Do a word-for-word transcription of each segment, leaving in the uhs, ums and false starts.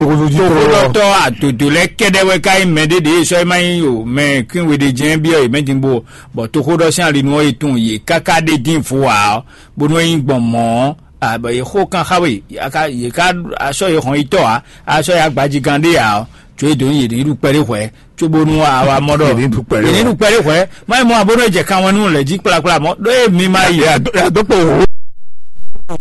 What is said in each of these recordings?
Toxóɖɔtɔ́ adodo lɛ́ɛ kɛ́ɖɛ́ wɛ ka nyí mɛ ɖé ɖě sɔ́ é má nyí o mɛ kwín we ɖé jɛ́n byɔ́ yě mɛ din bó, bɔ toxóɖɔ sín alinu ɔ́ yi tunwun yě káká ɖé dín vo ǎ ɔ́, bónú é nyí gbɔn mɔ̌ ɔ́, abɔ yě xó kan xá we, yě ká sɔ́ yě hɔn yi tɔ́ ǎ, a sɔ́ yě agbajigán ɖé ǎ ɔ́, có é dǒ nyí yě ní ɖu kpɛɖé hwɛ̌, cóbónú a wá mɔ ɖɔ Yě ní ɖu kpɛɖé yě ní hwɛ̌. Ɖu kpɛɖé hwɛ̌. Má yi mɔ abónú é jɛ kan wɛn nú lɛ̌ jí kplakpla mɔ̌ ɖó é mi ma yi. Yà dó kpó wò.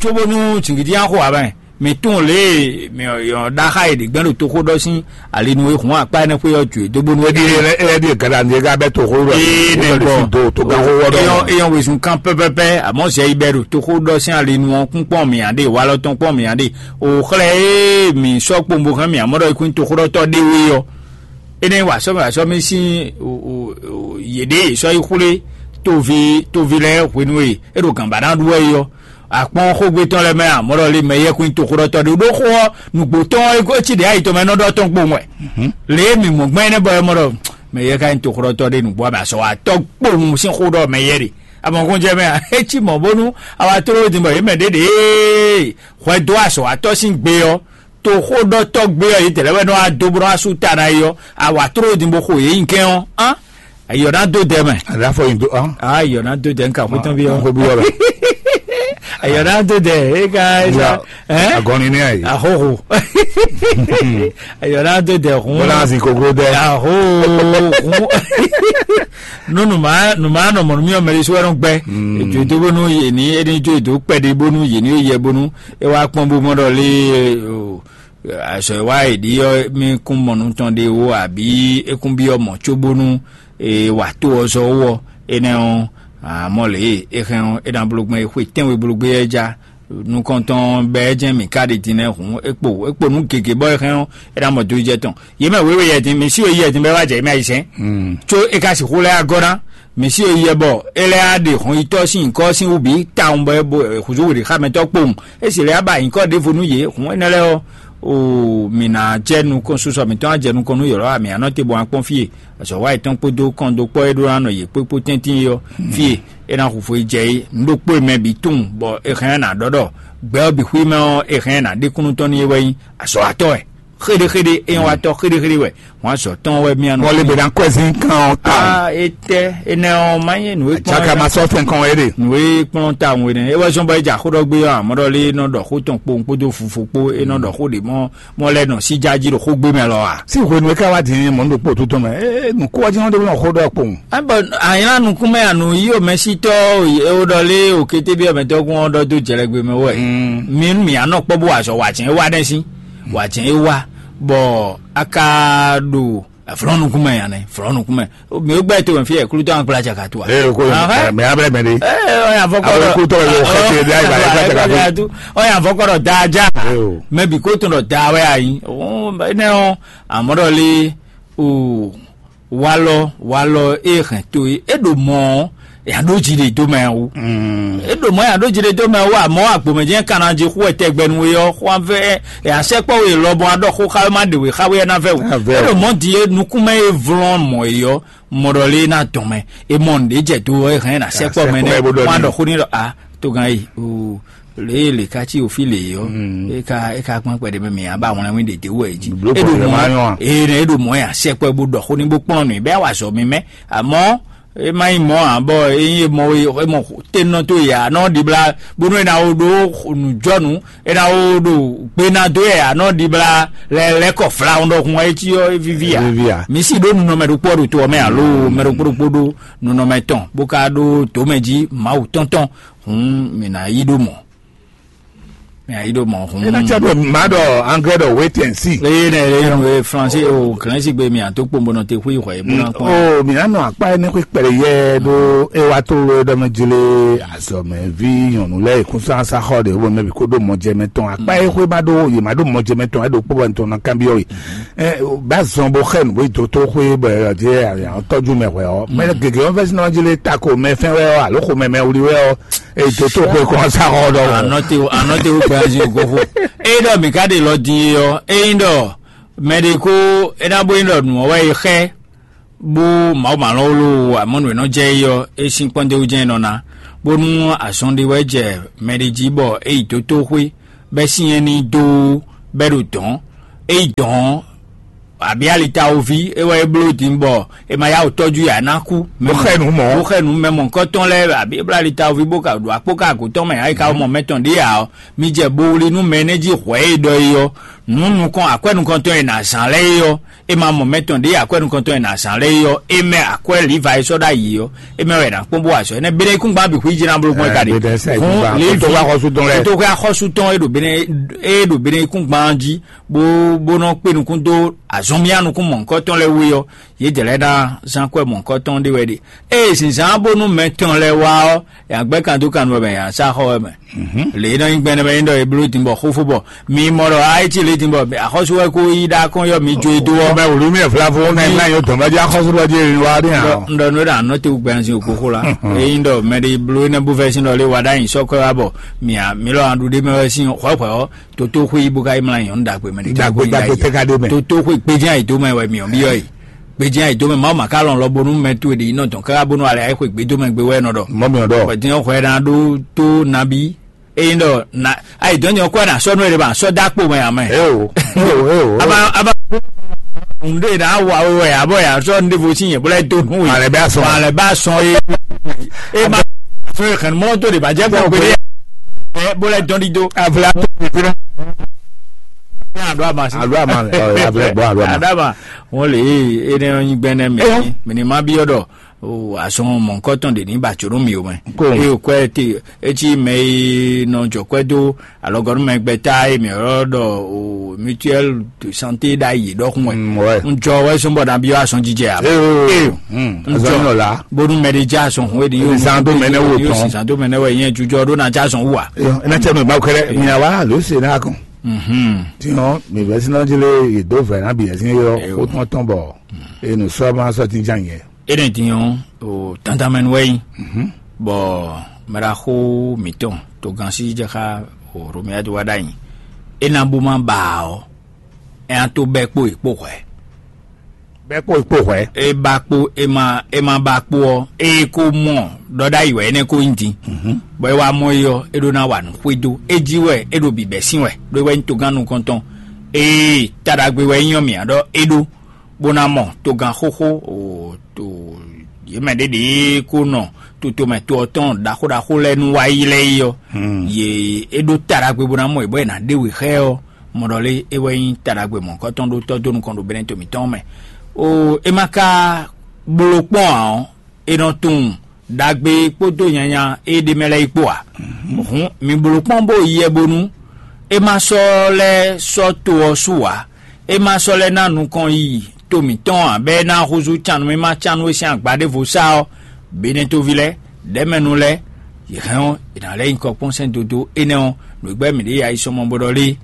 Cóbónú jǐngídí ná xo ǎ mɛ. Mi tunwun lě e mi ɔ́ ɖaxá e ɖě gbɛ́ ɖo toxó ɖɔ sín ali nú e hun akpá énɛ́ xwé ɔ́ jǒ dó bónú é ɖíe. Éyɛ́ ɖíe gǎɖa ní é ká bɛ́ toxó ɖɔ Ee, ní nɛ bɛ́ bɔ. Ɖo to gánxó ɖɔ. Eyɔn, eyɔn wezun kan pɛpɛpɛ, amɔ̌ zɛ yi bɛ ɖo toxó ɖɔ sín ali nú ɔ́ kún kpɔ́n mǐ ǎ ɖe, walɔ tɔn kpɔ́n mǐ ǎ ɖe. O xlɛ e mǐ sɔ́ kpombo hɛn mǐ amɔ́ ɖɔ é kún toxó ɖɔ tɔ́ ɖé wé ɔ́, énɛ́ wa sɔ́ mì wa sɔ́ mì sín yěɖée sɔ́ yi xwlé toví toví lɛ́ɛ hwenu e é ɖo gǎnbá ná ɖu wɛ é ɔ́. Akpɔ́n xógbe tɔn lɛ́ɛ mɛ amɔ̌ ɖɔ lé mɛ yɛ́kún toxóɖɔtɔ́ ɖé ɖó xó ɔ́, nǔgbó tɔn ɔ́ é cí ɖě ayi tɔn mɛ nɔ ɖɔ tɔn kpowun wɛ. Lě e mǐ mɔ gbɛn énɛ́ bɔ é mɔ ɖɔ mɛ yɛ ka nyí toxóɖɔtɔ́ ɖé nǔgbó abɛ azɔ̌ wa tɔ́ kpowun sín xó ɖɔ mɛ yɛ ɖe. Abɔ̀nkún jɛ mɛ a é cí mɔ̌ bónú awa tló din bɔ yě mɛ ɖě ɖě hwɛ dó azɔ̌ wa tɔ́ sín gbe ɔ́, toxóɖɔtɔ́ gbe ɔ́ yětɛn lɛ́ɛ wɛ nɔ wá dó bó nɔ wá sú ta ná é ɔ́, awa tló din bó xo yě nyi kɛn ɔ́, án ayɔ ná dó dɛ mɛ. Aɖa fɔ yin do hàn. Ayɔ ná dó dɛ nka xó tán bí ɔ́. Xó bí ɔ́ bɛ. Ayɔ ná dó dɛ é ka é sa. Agɔnni ní ayi. Ahoho. Ayɔ ná dó dɛ hun. Bọ́lá sì kókó dɛ. Ahoho. Nú nùmá nùmá nɔ mɔ̀nú mí ɔmɛ ɖésú ɛnɔ gbɛ. Ètò ètò bó nú yé ní éní jó ètò kpɛɖé bónú yé ní yɛ bónú é wá kpɔ́n bó mɔ ɖɔ lé o. Azɔ e wá e ɖi ɔ́, mí kún mɔ nú tɔn ɖé ó, abǐ é kún byɔ́ mɔ̌ cóbónú è wǎ tó ɔ́ zɔ ó ɔ́, énɛ́ ɔ́, amɔ̌ lě e é hɛn ɔ́, é ná bló gbɛn é xwe tɛ́nwe bló gbé ɔ́ é já. Nukɔntɔn bɛ́ jɛ́n mǐ ka ɖi din lɛ́ɛ hǔn, é kpo é kpo nǔ gěgé bɔ é hɛn ɔ́, é ná mɔ dó jɛ tɔn. Yě mɛ wěwe yɛ din, mǐ sí we yɛ din bɔ é wá jɛ yě mɛ ayizɛ́n. Có é ka sixú lɛ́ agɔ́ ná, mǐ sí we yɛ bɔ é lɛ́ á ɖe hɔn yi tɔ́ sín nyǐkɔ sín wú bǐ tawun bɔ é bo hǔzú wěɖixámɛtɔ́ kpowun. É sì lɛ́ á ba nyǐkɔ ɖěvo nú yě, hǔn énɛ́ lɛ́ɛ ɔ́, oo, mǐ ná jɛ nukɔn, susɔ mǐtɔn ná jɛ nukɔn nú yɔ̌lɔ́, mǐ ná nɔ te bó ná kpɔ́n fí e. Azɔ̌ wa yětɔn kpódó kɔn dó kpɔ́ e ɖó ná nɔ yě kpó kpó tɛ́ntin é ɔ́, fí e é ná hu fo yi jɛ é, nǔ ɖokpó e mɛ bǐ tunwun bɔ è hɛn ná ɖɔ ɖɔ gbɛ ɔ́ bǐ xwí mɛ ɔ́, è hɛn ná ɖe kúnnu tɔn n'i é wɛ nyí azɔ̌watɔ́ wɛ. Xéɖéxéɖé, é nyɔ́ wa tɔ́ xéɖéxéɖé wɛ. Wǎn azɔ̌ tɔn wɛ mía nɔ. Mɔlé be ná kɔ́ ɛ sín kan ɔ́ ta. Ah, etɛ enɛ ɔ́ má nyí nǔ e kplɔ́n. Tsaka ma sɔ́ fɛn kan wɛ ɖe. Nǔ e kplɔ́n ta wɛnɛ é wɛ zɔ́n bɔ é jɛ axó ɖɔ gbé ɔ́, amɔ̌ ɖɔ lé é nɔ ɖɔ xó tɔn kpowun kpódó fufo kpó, é nɔ ɖɔ xó ɖě mɔ mɔ lɛ́ nɔ síjá jí ɖo xógbé mɛ lɔ a? Sí hwenu e ká wá din mɔ ɖokpó tó tɔn mɛ, é nǔkúwájínɔ ɖé nɔ xó ɖɔ kpowun. Bɔ anyla nukúnmɛ anu yí omɛsítɔ o ɖɔ lé o kété bí ɔmɛtɔkùn ɔ́ ɖɔ dó jɛlɛgbé mɛ wɛ. Mi nú mǐ anɔ kpɔ́ bó wa azɔ wǎ jɛn é wá nɛ́ sín, wǎ jɛn é wá, bɔ a ka ɖo vlɔ̌ nukúnmɛ ya nɛ, vlɔ̌ nukúnmɛ. Mi ó gbɛ to mɛ fí yɛ klútɔ an kplá jaka to a? Ee ko Ahɛ. Mɛ abɛ mɛ de. Ee ɔyàn fɔkɔ Abe dɔ kútɔ yɔ xɛtɛ de ayi ba yɛ kata ka fi. Ɔyàn fɔkɔ dɔ da ja. Ee o. Mɛ bi ko tɔn dɔ da wɛ ayi. Ɔn ne ɔn amɔ dɔ le o walɔ walɔ e hɛn to ye e ɖo mɔ ɔ yà ɖo dzi ɖe do mɛ o. E ɖo mɔ yà ɖo dzi ɖe do mɛ o amɔ agbomɛjɛ kana dzi xú ɛtɛgbɛnu we ɔ xú an fɛ yà sɛkpɔ we lɔbɔ aɖɔ xó xa ma ɖe we xa we ɛna fɛ o. E ɖo mɔ di e nukúnmɛ e vlɔn mɔ yi ɔ mɔ ɖɔ lé ná dɔn mɛ e mɔ nɖe jɛ do ɔ e hɛn na sɛkpɔ mɛ nɛ wọn aɖɔ xó ni ɖɔ a togan yi o. Le le ka ci ofi le yɔ e ka e ka gbɔn kpɛɖe mɛ mi aba ŋlɛ mi ɖe de wɔ yi ji. Blo e ɖo kɔfɛ ma mɔ nyɔ a? Ee ne e ɖo mɔ ya sɛkpɔ bo ɖɔ xó ni bo kplɔn nui bɛ awa zɔ mi mɛ amɔ e ma yi mɔ a bɔ e yi mɔ e mɔ tenɔ to ya nɔ di bla bonu e na wo ɖo nujɔnu e na wo ɖo gbena do ya nɔ di bla lɛ lɛ kɔ fla ŋdɔ hun e ci yɔ e vivi ya. Vivi ya. Mi si ɖo nunɔmɛ ɖokpɔ ɖo to mɛ alo mɛ ɖokpɔ ɖokpɔ ɖo nunɔmɛ tɔn bo ka ɖo to mɛ ji mawu tɔntɔn hun mi na yi ɖo mɔ. Mɛ ayi ɖo mɔ hun. Ena tsa ɖo ma ɖɔ anglais ɖɔ wait and see. Eye ne eye nu ye français o grensi gbe mi ato kpombo nɔ te hui xɔ ye bo na kpɔn. O mi anɔ akpa ene xwe kpɛlɛ yɛ ɖo ewa to ɖɔ mɛ jele azɔmɛ vi nyɔnu lɛ ekunsa sa xɔ de wo mɛ bi ko ɖo mɔjɛ mɛ tɔn akpa ye xwe ma ɖo ye ma ɖo mɔjɛ mɛ tɔn eɖo kpɔ bɔ ntɔn na kan bi ɔ yi. Ɛ ba zɔn bo xɛ nu bo yi do to xwe bɔ ɛ ɔdi ɛ tɔju mɛ hwɛ ɔ mɛ gege ɔ fɛ sinɔ jele tako mɛ fɛn wɛ ɔ alo xo mɛ mɛ wuli wɛ ɔ. Ètò tó pé kɔn sa xɔ ɖɔ wɔ. Anɔte anɔte wo gbɛ azi ogo fo. Eyi ɖɔ mi ka ɖe lɔ din e ɔ eyi ɖɔ mɛ ɖe ko ena bo yin ɖɔ nu ɔwɛ yi xɛ bo mawu ma lɔ wolo amɔnu enɔ jɛ yi ɔ esi kpɔnde wo jɛ nɔ na bonu azɔn ɖe wɛ jɛ mɛ ɖe ji bɔ eyi dó tó xwé bɛ si yɛn ni dó bɛ ɖo dɔn é yi dɔn ɔ́, abǐ alitawoví é wɛ é bló din bɔ è ma yá wǔ tɔ́jú yě a ná kú. Bó xɛ nǔ mɔ̌. Bó xɛ nǔ mɛ mɔ̌hunkɔtɔn lɛ́ɛ, abǐ é bló alitawoví bó ka ɖo akpó ka agǒ tɔn mɛ, ayi ka mɔ mɛ tɔn ɖě ǎ ɔ́, mi jɛ bo wlí nú mɛ énɛ́ jí hwɛ̌ e ɖɔ é ɔ́, nǔ nukɔn akwɛ́ nukɔntɔn e nǎ zán lɛ́ɛ é ɔ́, é ma mɔ mɛ tɔn ɖě akwɛ́ nukɔntɔn e nǎ zán lɛ́ɛ é ɔ́, é mɛ akwɛ́ Livayi sɔ́ ɖ'ayǐ ɔ́, é mɛ wɛ è nǎ kpɔ́n bó wa azɔ̌ énɛ́. Bene yíkúngban bǐ xwíjɛ ná bló gbɔn é ka ɖe. Hǔn Livi tó xá xɔsú tɔn lɛ́ɛ. Tó xá xɔsú tɔn e ɖo Bene e ɖo Bene yíkúngban jí bó bó nɔ kpé nukún dó azɔnmía nukún mɔ̌hunkɔtɔn lɛ́ɛ wú é ɔ́, yědɛɛ lɛ́ɛ ná zán kwɛ́ mɔ̌hunkɔtɔn ɖé wɛ ɖe. Ée zǐnzán bónú mɛ tɔn lɛ́ɛ wá ɔ́, yǎ gbɛ́ kan dó kan nú wɛ mɛ yǎ sá xɔ wɛ mɛ. Lě e nɔ nyí gbɛnɛ mɛ é ɖɔ è bló din bɔ xófó bɔ mi mɔ ɖɔ a é cí lě din bɔ axɔ́sú wɛ kó yí ɖá kɔn yɔ mi jó e dó ɔ́. Mɛ wǔlú mi vlavo mɛ ná yɔ dɔn bá jẹ́ axɔ́sú lɔ jẹ́ wa ɖe hàn. Ŋɖɔ nú ɖa nɔ te wú gbɛnzin òkókó la. Eyín ɖɔ mɛ ɖe bló énɛ́ bó fɛ sín ɖɔ lé wa ɖ'ayǐ sɔ́ kɔ́ wá bɔ mì mì lɔ aɖu ɖé mɛ wɛ sín xwɛ̌xwɛ̌ ɔ́, tótó xwé yí bó ka yí mlá nyɔ̌nu ɖagbe mɛ ɖé. Ɖagbe ɖagbe tɛ ka ɖe mɛ. Tótó xwé gbéján yě dó mɛ wɛ mì ɔ́ byɔ́ yìí. Gbéján yě dó mɛ Mawu ma ka lɔn lɔ bónú mɛ towe ɖe yi nɔ dɔn káká bónú alɛ ayé xwé gbé dó mɛ gbé wɛ nɔ ɖɔ. Mɔ mì ɔ́ ɖɔ. Bɔ dín xɔ ɛ ná ɖó tó nabí. Eyín ɖɔ na ayi dɔn nyɔ kɔ na sɔ nú ɛ ɖe ba sɔ dá kpo mɛ amɛ. Eo eo eo. Aba aba. Nde na wa wɛ abɔ ya sɔ nde vo si yɛ bla do nu. Alɛ bɛ asɔn. Alɛ bɛ asɔn ye. E ma sɔ ye xɛn mɔ to de ba jɛ gbɔ gbede. Ɛ bó lɛ dɔn di do. Avla tó fi fi. Alo ama si. Alo ama ɔ avla bɔ alo ama. Adama wọn le ye e ne yin gbɛnɛ mi. Mi ni ma bi ɔdɔ. O azɔn mɔnkɔtɔn de ni ba tso nú mi o mɛ. Ko. E o kɔ ɛ te e ci mɛ e nɔ jɔ kɔ ɛ do alɔgɔnu mɛ gbɛta e mi yɔrɔ dɔ o mutuelle de santé da yi dɔkun wɛ. Mm, ouais. N jɔ wɛ sɔn bɔ na bi azɔn jijɛ a. Ee. Mm, azɔn yɔ la. Bonu mɛ de ja azɔn hun e di yóò. Sisan to mɛ ne wo tɔn. Sisan to mɛ ne wɛ yẹn jujɔ do na ja azɔn wu a. Ena tɛ mi ba kɛrɛ mi awa lo se na kɔn. Mhm. Tiɲɔ mi vɛ sinɔ jele yi do vɛ na bi yɛ sin yɔ. Eyo. O tɔn tɔn bɔ. Enu sɔ ma sɔ ti jan yɛ. Énɛ́ din ɔ́, o tantamɛnu wɛ nyí, bɔ mɛɖaxó mǐtɔn togán sí jɛ xá o Romia do wá ɖ'ayǐ. É ná bó má ba ɔ́, é ná tó bɛ́ kpó yě kpó hwɛ̌. Bɛ́ kpó yě kpó hwɛ̌. É ba kpó é ma é ma ba kpó ɔ́, é ko mɔ ɖɔ ɖ'ayǐ wɛ énɛ́ ko nyí din. Bɔ é wá mɔ é ɔ́, é ɖó ná wa nǔ xwedó. É jí wɛ é ɖo bǐbɛ́ sín wɛ, ɖó é wɛ nyí togán nukɔntɔn. Ée taɖagbe wɛ nyí ɔ́ mǐ ǎ ɖɔ é ɖó. Bó ná mɔ togán xóxó o to yě mɛ ɖěɖě ko nɔ totomɛ to ɔ́ tɔn ɖaxó ɖaxó lɛ́ɛ nú wá yi lɛ́ɛ yi ɔ́, yě é ɖó ta ɖagbe bó ná mɔ yě bɔ è nǎ ɖe wě xá ɛ ɔ́, mɔ ɖɔ lé é wɛ nyí ta ɖagbe mɔ̌hunkɔtɔn ɖó tɔ́ dó nukɔn ɖo bɛ́nɛ́ to mǐtɔn mɛ. O é ma ka bló kpɔ́n ǎ ɔ́, è nɔ tunwun ɖagbe kpódó nyanya e ɖ'é mɛ lɛ́ɛ yi kpó ǎ. Hǔn mi bló kpɔ́n bó yi yɛ bónú é ma sɔ́ lɛ́ sɔ́ to ɔ́ su ǎ. É ma sɔ́ lɛ́ ná nukɔn yiyi to mǐtɔn ǎ, bɔ é ná húzú cannumímá cannu e sín agba ɖěvo sá ɔ́, Benetoví lɛ́ɛ, ɖɛ̌mɛnu lɛ́ɛ, yě hɛn ɔ́, è nǎ lɛ́ nyi kɔ kpɔ́n sɛ́n dodó énɛ́ ɔ́, nǔ e gbɛ́ mǐ ɖe yi ayisɔmɔ bó ɖɔ lé?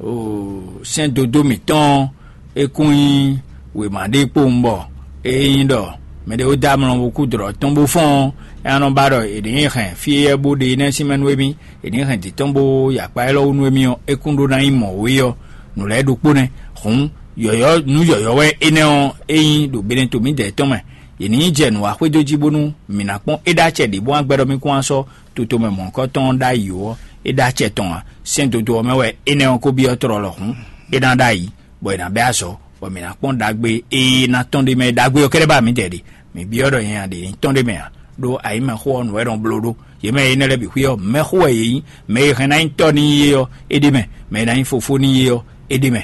Oo, sɛ́n dodó mǐtɔn ɔ́, é kún nyí wěma ɖé kpowun bɔ é nyí ɖɔ mɛɖé ó dó amlɔ bó kú dlɔ̌ tɔn bó fɔ́n ɔ́, é ná nɔ ba ɖɔ è nǐ hɛn fí éyɛ́ bó ɖe énɛ́ sín mɛ nú émí, è nǐ hɛn dǐtɔ́n bó yi akpa élɔ́ wú nú émí ɔ́, é kún ɖó ná nyí mɔ̌ wé ɔ́, nǔ lɛ́ɛ ɖokpó nɛ́. Hǔn yɔ̌yɔ́ nǔ yɔ̌yɔ́ wɛ énɛ́ ɔ́, é nyí ɖo Benɛto mǐdɛɛ tɔn mɛ. Yě ní yi jɛ nǔ wa xwedó jí bónú mǐ ná kpɔ́n é ɖó acɛ ɖě bó wá gbɛ́ ɖɔ mí kún wá sɔ́ toto mɛ mɔ̌hunkɔtɔn ɔ́ ɖ'ayǐ ó, é ɖó acɛ tɔn ǎ. Sɛ́n dodó ɔ́ mɛ wɛ énɛ́ ɔ́ ko byɔ́ tlɔlɔ hǔn é ná ɖ'ayǐ, bɔ è nǎ bɛ́ azɔ̌, bɔ mǐ ná kpɔ́n ɖagbe e ná tɔ́n ɖ'é mɛ é ɖagbe ɔ́ kɛ́ɖɛ́ ba mǐdɛɛ ɖe. Mǐ byɔ́ ɖɔ nyanya ɖě ní tɔ́n ɖ'é mɛ ǎ, ɖó ayǐmɛxó ɔ́ nǔ wɛ nɔ bló ɖó. Yě mɛ e nɛ́ lɛ́ɛ bǐ xwí ɔ́, mɛxó wɛ yě nyí. Mɛ e hɛn ná nyí tɔ́ n'i é ɔ́, é ɖ'é mɛ; mɛ e ná nyí fofó n'i é ɔ́, é ɖ'é mɛ.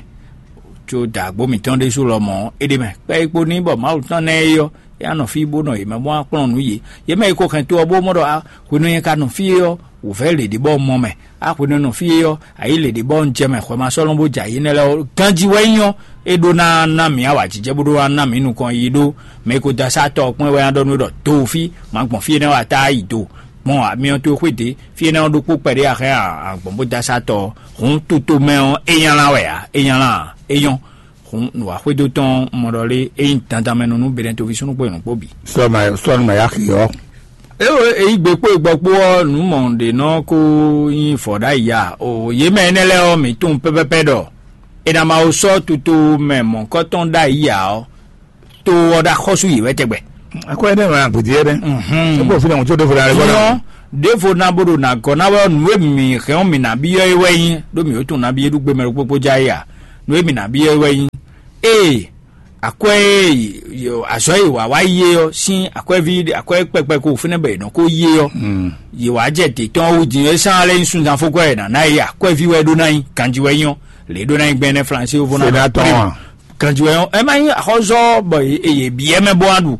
Có dǎgbó mǐtɔn ɖésú lɔmɔ̌ ɔ́, é ɖ'é mɛ. Kpɛ́ e kpo n'i bɔ Mawu tɔn ná ɛ é ɔ́, é ná nɔ fí bó nɔ yě mɛ bó ná kplɔ́n nǔ yě. Yě mɛ e ko hɛn to ɔ́ bó mɔ ɖɔ a hwenu e nyɛ ka nɔ fí é ɔ́, wǔvɛ́ lě ɖě bɔ un mɔ mɛ. A hwenu e nɔ fí é ɔ́, a yǐ lě ɖě bɔ un jɛ mɛ hwɛ ma sɔ́ lɔn bó jɛ yě nɛ́ lɛ́ɛ ɔ́, ganjí wɛ nyí ɔ́, é ɖó ná ná mǐ awǎjijɛ bó ɖó ná ná mǐ nukɔn yiyi ɖó. Mɛ e ko dó asá tɔ ɔ́ kpɔ́n é wɛ ná ɖɔ nú é ɖɔ: "Do fí, ma gbɔn fí énɛ́ wɛ a tá yi do. Gbɔn amyɔ towe xwé dě, fí énɛ́ ɔ́ ɖokpó kpɛɖé a hɛn a gbɔn bó dó asá tɔ ɔ́." Hǔn toto mɛ ɔ́, é nylá wɛ ǎ, é nylá ǎ, é nyɔ́. Hǔn nǔwaxwedó tɔn mɔ ɖɔ lé é nyí dandanmɛnɔ nú Benɛtoví súnnu kpó nyɔ̌nu kpó bǐ. Sɔ́ ma sɔ́ nú ma yá xi ɔ́. Eo e yí gbe kpó e gbɔ kpó ɔ́, nǔ mɔ̌ ɖě nɔ ko nyí vɔ̌ ɖ'ayǐ ǎ. O yě mɛ énɛ́ lɛ́ɛ ɔ́, mǐ tunwun pɛ́pɛ́pɛ́ ɖɔ è nǎ ma wo sɔ́ tutomɛ mɔ̌hunkɔtɔn ɖ'ayǐ ǎ ɔ́, to ɔ́ ɖo axɔ́sú yě wɛ tɛgbɛ. Akɔ énɛ́ nɔ agbědí énɛ́. Mhm. É kpo fínɛ́ wútu ɖěvo ɖo alɛ gbɔdɔ. Nyɔ ɖěvo ná bó ɖo nǎ gɔ́ ná wɛ ɔ́, nǔ e mǐ hɛn ɔ́, mǐ ná byɔ́ é wɛ nyí, ɖó mǐ ó tunwun ná byɔ́ é ɖu gbemɛ ɖokpó kpó já é ǎ. Nǔ e mǐ ná byɔ́ wɛ nyí, ée akwɛ́ e azɔ̌ e wǎ wá yí é ɔ́ sín akwɛ́ví akwɛ́ kpɛkpɛ ko fínɛ́ bɔ è nɔ ko yí é ɔ́, yě wá jɛ dě tɔn wú din é sán lɛ́ nyí sunzan fó kwɛ́ è nǎ ná yí akwɛ́ví wɛ ɖó ná nyí ganjí wɛ nyí ɔ́, lě ɖó ná nyí gbɛn nɛ́ Flanyisé yovó ná ɖɔ Sénatɔ́ prime. Ǎ. Ganjí wɛ nyí ɔ́, é má nyí axɔ́zɔ́ bɔ yě yě byɔ́ mɛ bó wá ɖu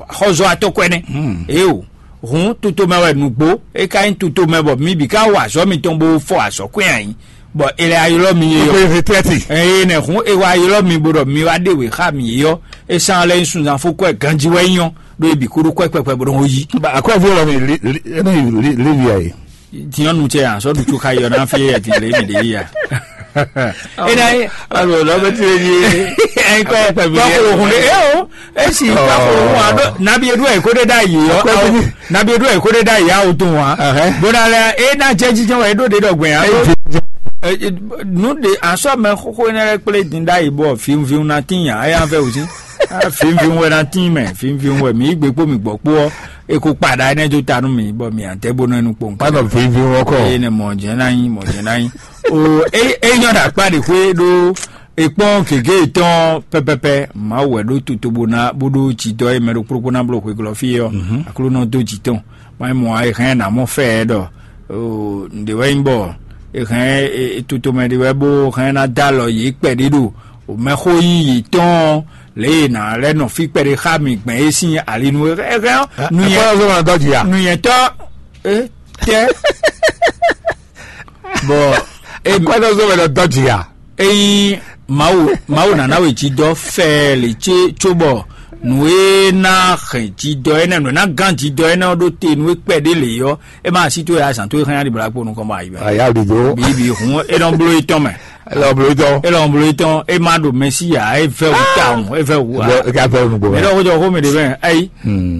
axɔ́zɔ́ atɔ́kwɛ́ nɛ́. Éeǒ, hǔn tutomɛ wɛ nǔgbó, é ka nyí tutomɛ bɔ mi bǐ ka wa azɔ̌ mitɔn bó fɔ azɔ̌ kwɛ́n ǎ nyí, bɔ è lɛ́ ylɔ́ mi é ɔ́. Kókó retraite. Eye nɛ hǔn è wá ylɔ́ mi bó ɖɔ mi wá ɖe wě xá mǐ é ɔ́, é sán lɛ́ nyí sunzan fó kwɛ́ ganjí wɛ nyí ɔ́, ɖó è bǐ kúɖú kwɛ́ kpɛkpɛ bó nɔ́ yí. Akwɛ́ví ɔ́ mi li li é nɔ yi li li via yi. Tiɲɔ nu cɛ yan sɔ ɖu tsu xa yɔ na fi yɛ ti le mi de yi ya. Ena yi. Alo lɔ bɛ ti le yi. Ɛnkɔ kpakolo hun de e o. Esi kpakolo hun a ɖo nabi edu ɛ ko de da yi yɔ. Nabi edu ɛ ko de da yi awo tun wa. Bona lɛ e na jɛ jijɛ wa e ɖo de dɔ gbɛn ya. Nu de asɔ mɛ xoxo ne lɛ kple din da yi bɔ fiun fiun na tin ya eya fɛ wusi. Fiun fiun wɛ na tin mɛ fiun fiun wɛ mi gbe kpo mi gbɔ kpo ɔ. E ko kpa ɖa énɛ́ dó ta nú mì, bɔ mì adɛ́ bó nɔ nu kpɔn. Má nɔ vivi wɔkɔ. Eye nɛ mɔ jɛ ná nyi, mɔ jɛ ná nyi. O e e nyɔ ɖo akpá ɖe xwé ɖó e kpɔn gěgé tɔn pɛpɛpɛ. Mawu wɛ ɖó toto bó ná bó ɖó jidɔ e mɛ ɖo kplókpó ná bló xwe glɔ fí ɔ́. Aklúnɔ dó jǐ tɔn. Má nyí mɔ e hɛn ná mɔ fɛ ɛ ɖɔ o nɖe wɛ nyí bɔ e hɛn e toto mɛ ɖe wɛ bó hɛn ná dó alɔ yě kpɛɖé ɖo o mɛxó yí yětɔn lě e nǎ lɛ́ nɔ fí kpɛɖé xá mì gbɛn é sín ali nú é hɛn ɔ́. Nuyɛn Akpɔ́nɔzɔ́mɔ dɔ́ jǐ a? Nuyɛntɔ́ e tɛ bɔ e Akpɔ́nɔzɔ́mɔ dɔ́ jǐ a? Eyin Mawu Mawu nana we jí dɔ fɛ le ce cóbɔ nǔ e ná hɛn jí dɔ énɛ́ nǔ e ná gán jí dɔ énɛ́ ɔ́ ɖó te nú é kpɛɖé lě ɔ́, é má sí tó yà zǎn tó é xɛn yá ɖi bla kpo nukɔn bɔ ayi mɛ. Aya ɖi do. Bibi hun é nɔ bló é tɔn mɛ. Ele ɔblɔyitɔ. Ele ɔblɔyitɔ e ma ɖo Mɛsiya e vɛ wu tawun e vɛ wu a. Ega vɛ wu nugbo. Ele ɔkutɔ ko mi de bɛ ayi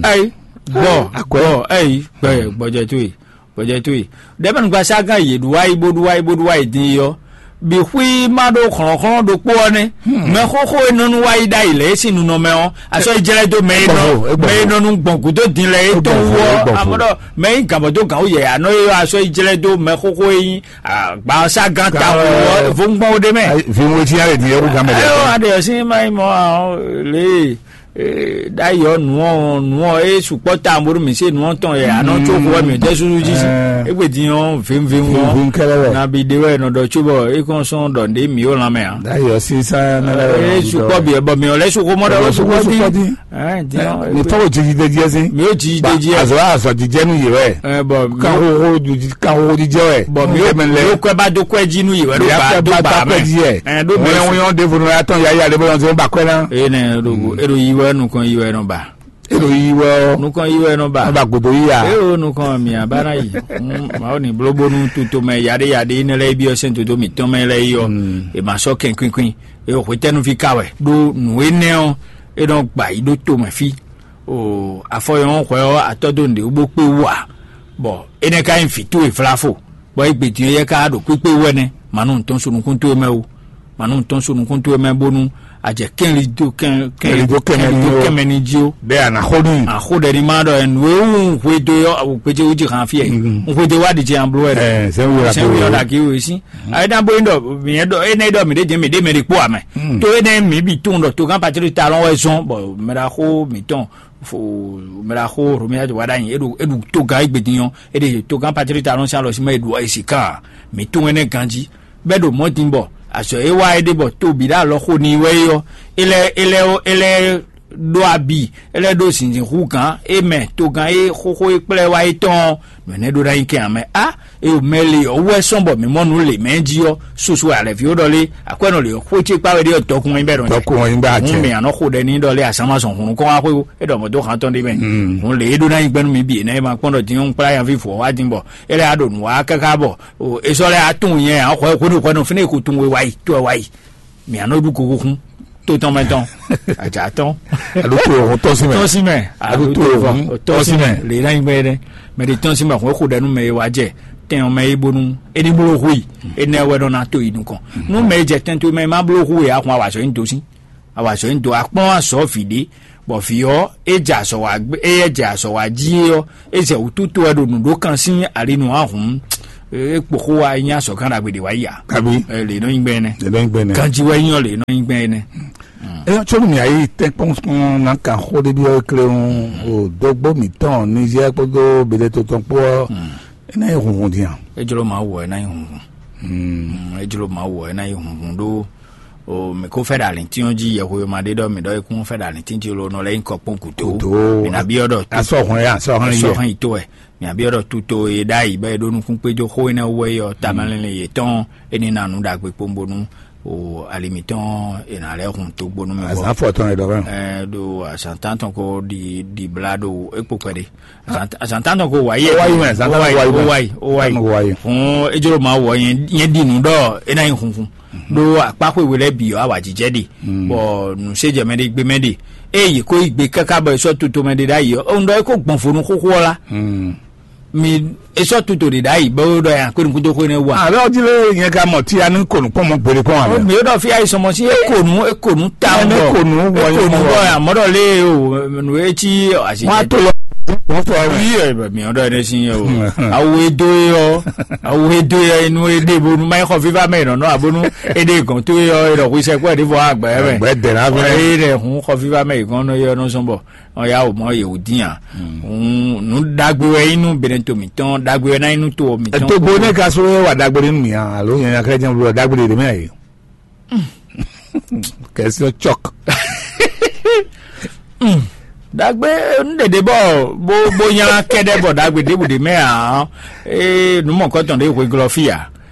ayi bɔ Akwɛ. Bɔ ayi gbɛ gbɔjɛ to yi gbɔjɛ to yi dɛbɛ nugba sa gan yi ɖu wa yi bo ɖu wa yi bo ɖu wa yi din yi yɔ bi xwi ma ɖo xlɔxlɔ ɖokpo ɔ nɛ mɛ xoxo e nɔnu wa yi ɖa yi lɛ esi nunɔ mɛ ɔ asɔ yi jɛlɛ do mɛ e nɔ Egbɔfo, egbɔfo. Mɛ e nɔnu gbɔn gudo din lɛ e tɔn Egbɔfo, wɔ egbɔfo. Amɔ ɖɔ mɛ yi gabɔ do gan wo yɛ anɔ ye yɔ asɔ yi jɛlɛ do mɛ xoxo e yi Agba sa gan ta wɔ vo gbɔn wo ɖe mɛ. Vinwo jí ale di ewu gan mɛ ɖe. Ayo aɖe ɔsi ma yi mɔ ahɔn le ɖayɔ nuɔ nuɔ e sukpɔ ta bonu mi se nuɔ tɔn yɛ anɔ tso xo wɛ mi tɛ susu jí si egbe di yɔ vimvim Vim kɛlɛ wɛ. Na bi de wɛ nɔ dɔ tso bɔ e kɔn sɔn dɔ nde mi o lan mɛ a. Dayɔ sisan na e sukpɔ bi bɔ mi o lɛ sukpɔ mɔ dɔ sukpɔ di. Ɛ, diɔ, mi tɔgɔ jiji de diɛ si. Mi o jiji de diɛ. Azɔ azɔ jijɛ nu yi wɛ. Ɛ, bɔn mi kan o- xoxo ju- kan xoxo jijɛ wɛ. Bɔn mi o Kɛmɛ lɛ. Mi o kɔɛ ba do kɔɛ ji nu yi wɛ do Mi ba akɔɛ do ba ba ta mɛ. Kɔɛ ji yɛ. Ɛ, do mɛ Wɛn si. Wɛn de funu ya tɔn ya ya de bɔ lɔn se ba kɔɛ na. E nɛ do go e do yi wɛ nukɔn yi wɛ nɔ ba. E do yi wɛ o. Nukɔn yi wɛ nɔ ba. Ba godo yi ya. E o nukɔn mi a ba na yi. Mm, ma o ni blobonu tuto mɛ yaɖe yaɖe ne lɛ bi ɔ sɛn toto mi tɔn mɛ lɛ yi ɔ. E ma sɔ kɛn kwinkwin. E o hwetɛnu fi ka wɛ. Do nu e nɛ ɔ e nɔ gba yi do to mɛ fi. O afɔyɔn hwɛ ɔ atɔ do nɖe wo bó kpé wú a. Bɔ enɛ ka nyí vǐ towe vlafo bɔ égbé din yɛ ka ɖo kpékpé wɛ nɛ manu ŋutɔn so nukún towe mɛ o. Manu ŋutɔn so nukún towe mɛ bónú a jɛ kɛnli dó kɛn Kɛnli dó kɛnmɛ kɛnli ní dó o. Kɛnmɛ ní jí o. Bɛ a nà xó n'i. A xó ɖɛ ní ma ɖɔ ɛ nǔ e wú hwe dó yɔ awu kpéjé wú jí hàn fí ɛ n hwe dó wá ɖi jɛ an bló ɛ Ɛ, sɛ wúlò la sɛ wúlò kó. Ɖa kí o sí. Ayi dá bóyá ɖɔ mìyɛn ɖɔ ene ɖɔ mì ɖe jɛ mì ɖe mɛ ɖi kpó amɛ. To ene mì bi tún ɖɔ to gán patiri ta lɔn wɛ zɔn bɔ mɛ ɖa xó mì tɔn fo mɛ ɖa xó romia wa ɖa nyi eɖu eɖu to gán egbe din yɔ eɖe to gán patiri ta lɔn si alɔ si mɛ eɖu esi kan mì tún ene ganji bɛ ɖo mɔ din bɔ azɔ e wa eɖe bɔ to bi ɖe alɔ xó ni wɛ yɔ ele ele ele ɖo abi ele ɖo zinzin hu gán e mɛ to gán e xóxó e kplɛ wa e tɔn nɔ ne ɖo ɖa nyi kɛ amɛ a eyo mɛ le ɔ wɛ sɔn bɔ mi mɔ nu le mɛ ji ɔ susu alɛ fi o ɖɔ le akwɛ nɔ le xó tse kpa wɛ ɖe ɔ dɔkun wɛ bɛ dɔn Dɔkun wɛ bɛ atsɛ. Mɛ anɔ xó ɖɛ ni ɖɔ le azan ma zɔn hunu kɔn wa xó e ɖɔ mɔ do hàn tɔn ɖe mɛ hun le e ɖo na nyi gbɛnu mi bi ne ma kpɔn ɖɔ din ŋu kpla yan fi fo wa din bɔ ele a ɖo nu wa kaka bɔ o e sɔ lɛ a tun yɛ a xɔ xó ni xɔ nɔ fi ne ko tun we wa yi to wa yi. Mì anɔ ɖu koko xún tó tɔn mɛ tɔn àjà tɔn Alo to o tɔ si mɛ. Tɔn si mɛ Alo to o tɔn tɔn si mɛ. Le na nyigbe ɖe mɛ de tɔn si mɛ xɔ xo ɖe nu mɛ ye wa jɛ tɛn mɛ ye bonu eni bolo hu yi ene wɛ nɔ na to yi nukɔn nu mɛ ye jɛ tɛn to mɛ ma bolo hu ye axɔn awa sɔ yin do si awa sɔ yin do akpɔn asɔ vi ɖe bɔ vi ɔ e jɛ asɔ wa gbe e yɛ jɛ asɔ wa ji ye ɔ e zɛ wutu to wɛ ɖo nu ɖo kan si ali nu ahun E kpo xó wa nyí azɔ̌kan ɖagbe ɖě wá yi a? Kabi. Ɛ, lě nɔ nyi gbɛn ɛnɛ. Lě nɔ nyi gbɛn ɛnɛ. Ganji wɛ nyɔ lě nɔ nyi gbɛn ɛnɛ. Ɛ, tsɔ́ nú mǐ ayí tɛ́nkpɔ́n nɔ kan xó ɖé byɔ́ kléwún o dógbó mǐtɔn Nizɛ́ɛ kpódó Beɖéto tɔn kpó ɔ́, é ná nyí hunhun din a? É jló Mawu wɔ é ná nyí hunhun. Mm, é jló Mawu wɔ é ná nyí hunhun ɖó o mǐ kó fɛ ɖo alǐntín ɔ́ jí yɛhweyoma ɖé ɖɔ mǐ ɖɔ é kún fɛ ɖo alǐntín jí lo nɔ lɛ́ nyí kɔkpɔ́n gǔdo. Gǔdo. Mǐ ná byɔ́ ɖɔ Asɔ́ hɔn yá, asɔ́ hɔn yɛ. Sɔ́ hɛn yi tó wɛ. Mǐ byɔ́ ɖɔ tuto e ɖ'ayǐ bɔ è ɖó nukún kpé jó xó énɛ́ wú wɛ é ɔ́, tamɛ lɛ́nlɛ́n yětɔn é ní ná nǔ ɖagbe kpowun bónú o ali mǐtɔn è nǎ lɛ́ hun dó gbónú mì. Azǎn fɔ tɔn è ɖɔ fɛn. Ɛ ɖo azǎn tántɔn ko ɖi ɖi blá ɖo é kpo kpɛɖé. Azǎn tántɔn ko wǎyi. Ó wáyi mɛ, azǎn tántɔn ko wáyi mɛ. Ó wáyi, ó wáyi. Tántɔn ko wáyi. Fún ejló ma wɔ nyɛ nyɛ ɖi nǔ ɖɔ é ná nyí hunhun. Ɖó akpá xwé we lɛ́ɛ bǐ ɔ́, awǎjijɛ ɖe, bɔ nǔ se jɛ mɛ ɖé gbé mɛ ɖe. Ée yě kó yi gbe káká bɔ è sɔ́ tuto mɛ ɖé ɖ'ayǐ ɔ́, un ɖɔ é kó gbɔn vo nú xóxó ɔ́ lá. Mi è sɔ́ tuto ɖě ɖ'ayǐ bɔ é ɖɔ ya kpé nukúndó xó énɛ́ wú a? Àbɛ ɔdí lé nyɛ ka mɔ tí a ní kò nú kpɔ́n mɔ gbére kpɔ́n Ó àbɛ. Mi é ɖɔ fí ayé sɔmɔ sí é kò nú é kò nú ta Ɛ, mɔ. É kò nú wɔ É kò nú wɔ. Bɔ àmọ́ ɖɔ lé o nǔ é cí àsì. Wọ́n á tó lọ. Wọ́n fọ ẹ. Yí ẹ bẹ mi ọdọ ẹni sí yẹ o. Awo edo yẹ ọ. Awo edo yẹ inú ede bonu ma xɔ fífa mẹ ìrànlọ́ àbónú ede gàn tó yẹ ọ ìrọ̀ kó iṣẹ́ kó ẹ̀ ní fọ àgbà ẹ̀ mẹ. Ẹgbẹ́ dẹ̀ lábẹ́. Ẹ yẹ hun xɔ fífa mẹ ìgànnà yẹ ọ náà sọ́nbọ̀. Ɔ́ yá wò mɔ yě wò dín à. Nǔ ɖagbe wɛ nyí nú Benɛto mǐtɔn, ɖagbe wɛ ná nyí nú to mǐtɔn. Ètò gbóná ka só wá dagbe nínú mi hàn, alo yẹn akéré jẹ́ olùdó dagbe lè mí àyè. Kẹsíọ́ chọ́k. Ɖagbe nú ɖeɖe bɔ bó bó nylá kɛɖɛ bɔ ɖagbe ɖěbǔ ɖě mɛ ǎ. Ee, nǔ mɔ̌kɔtɔn ɖě hwe glɔ fí ǎ.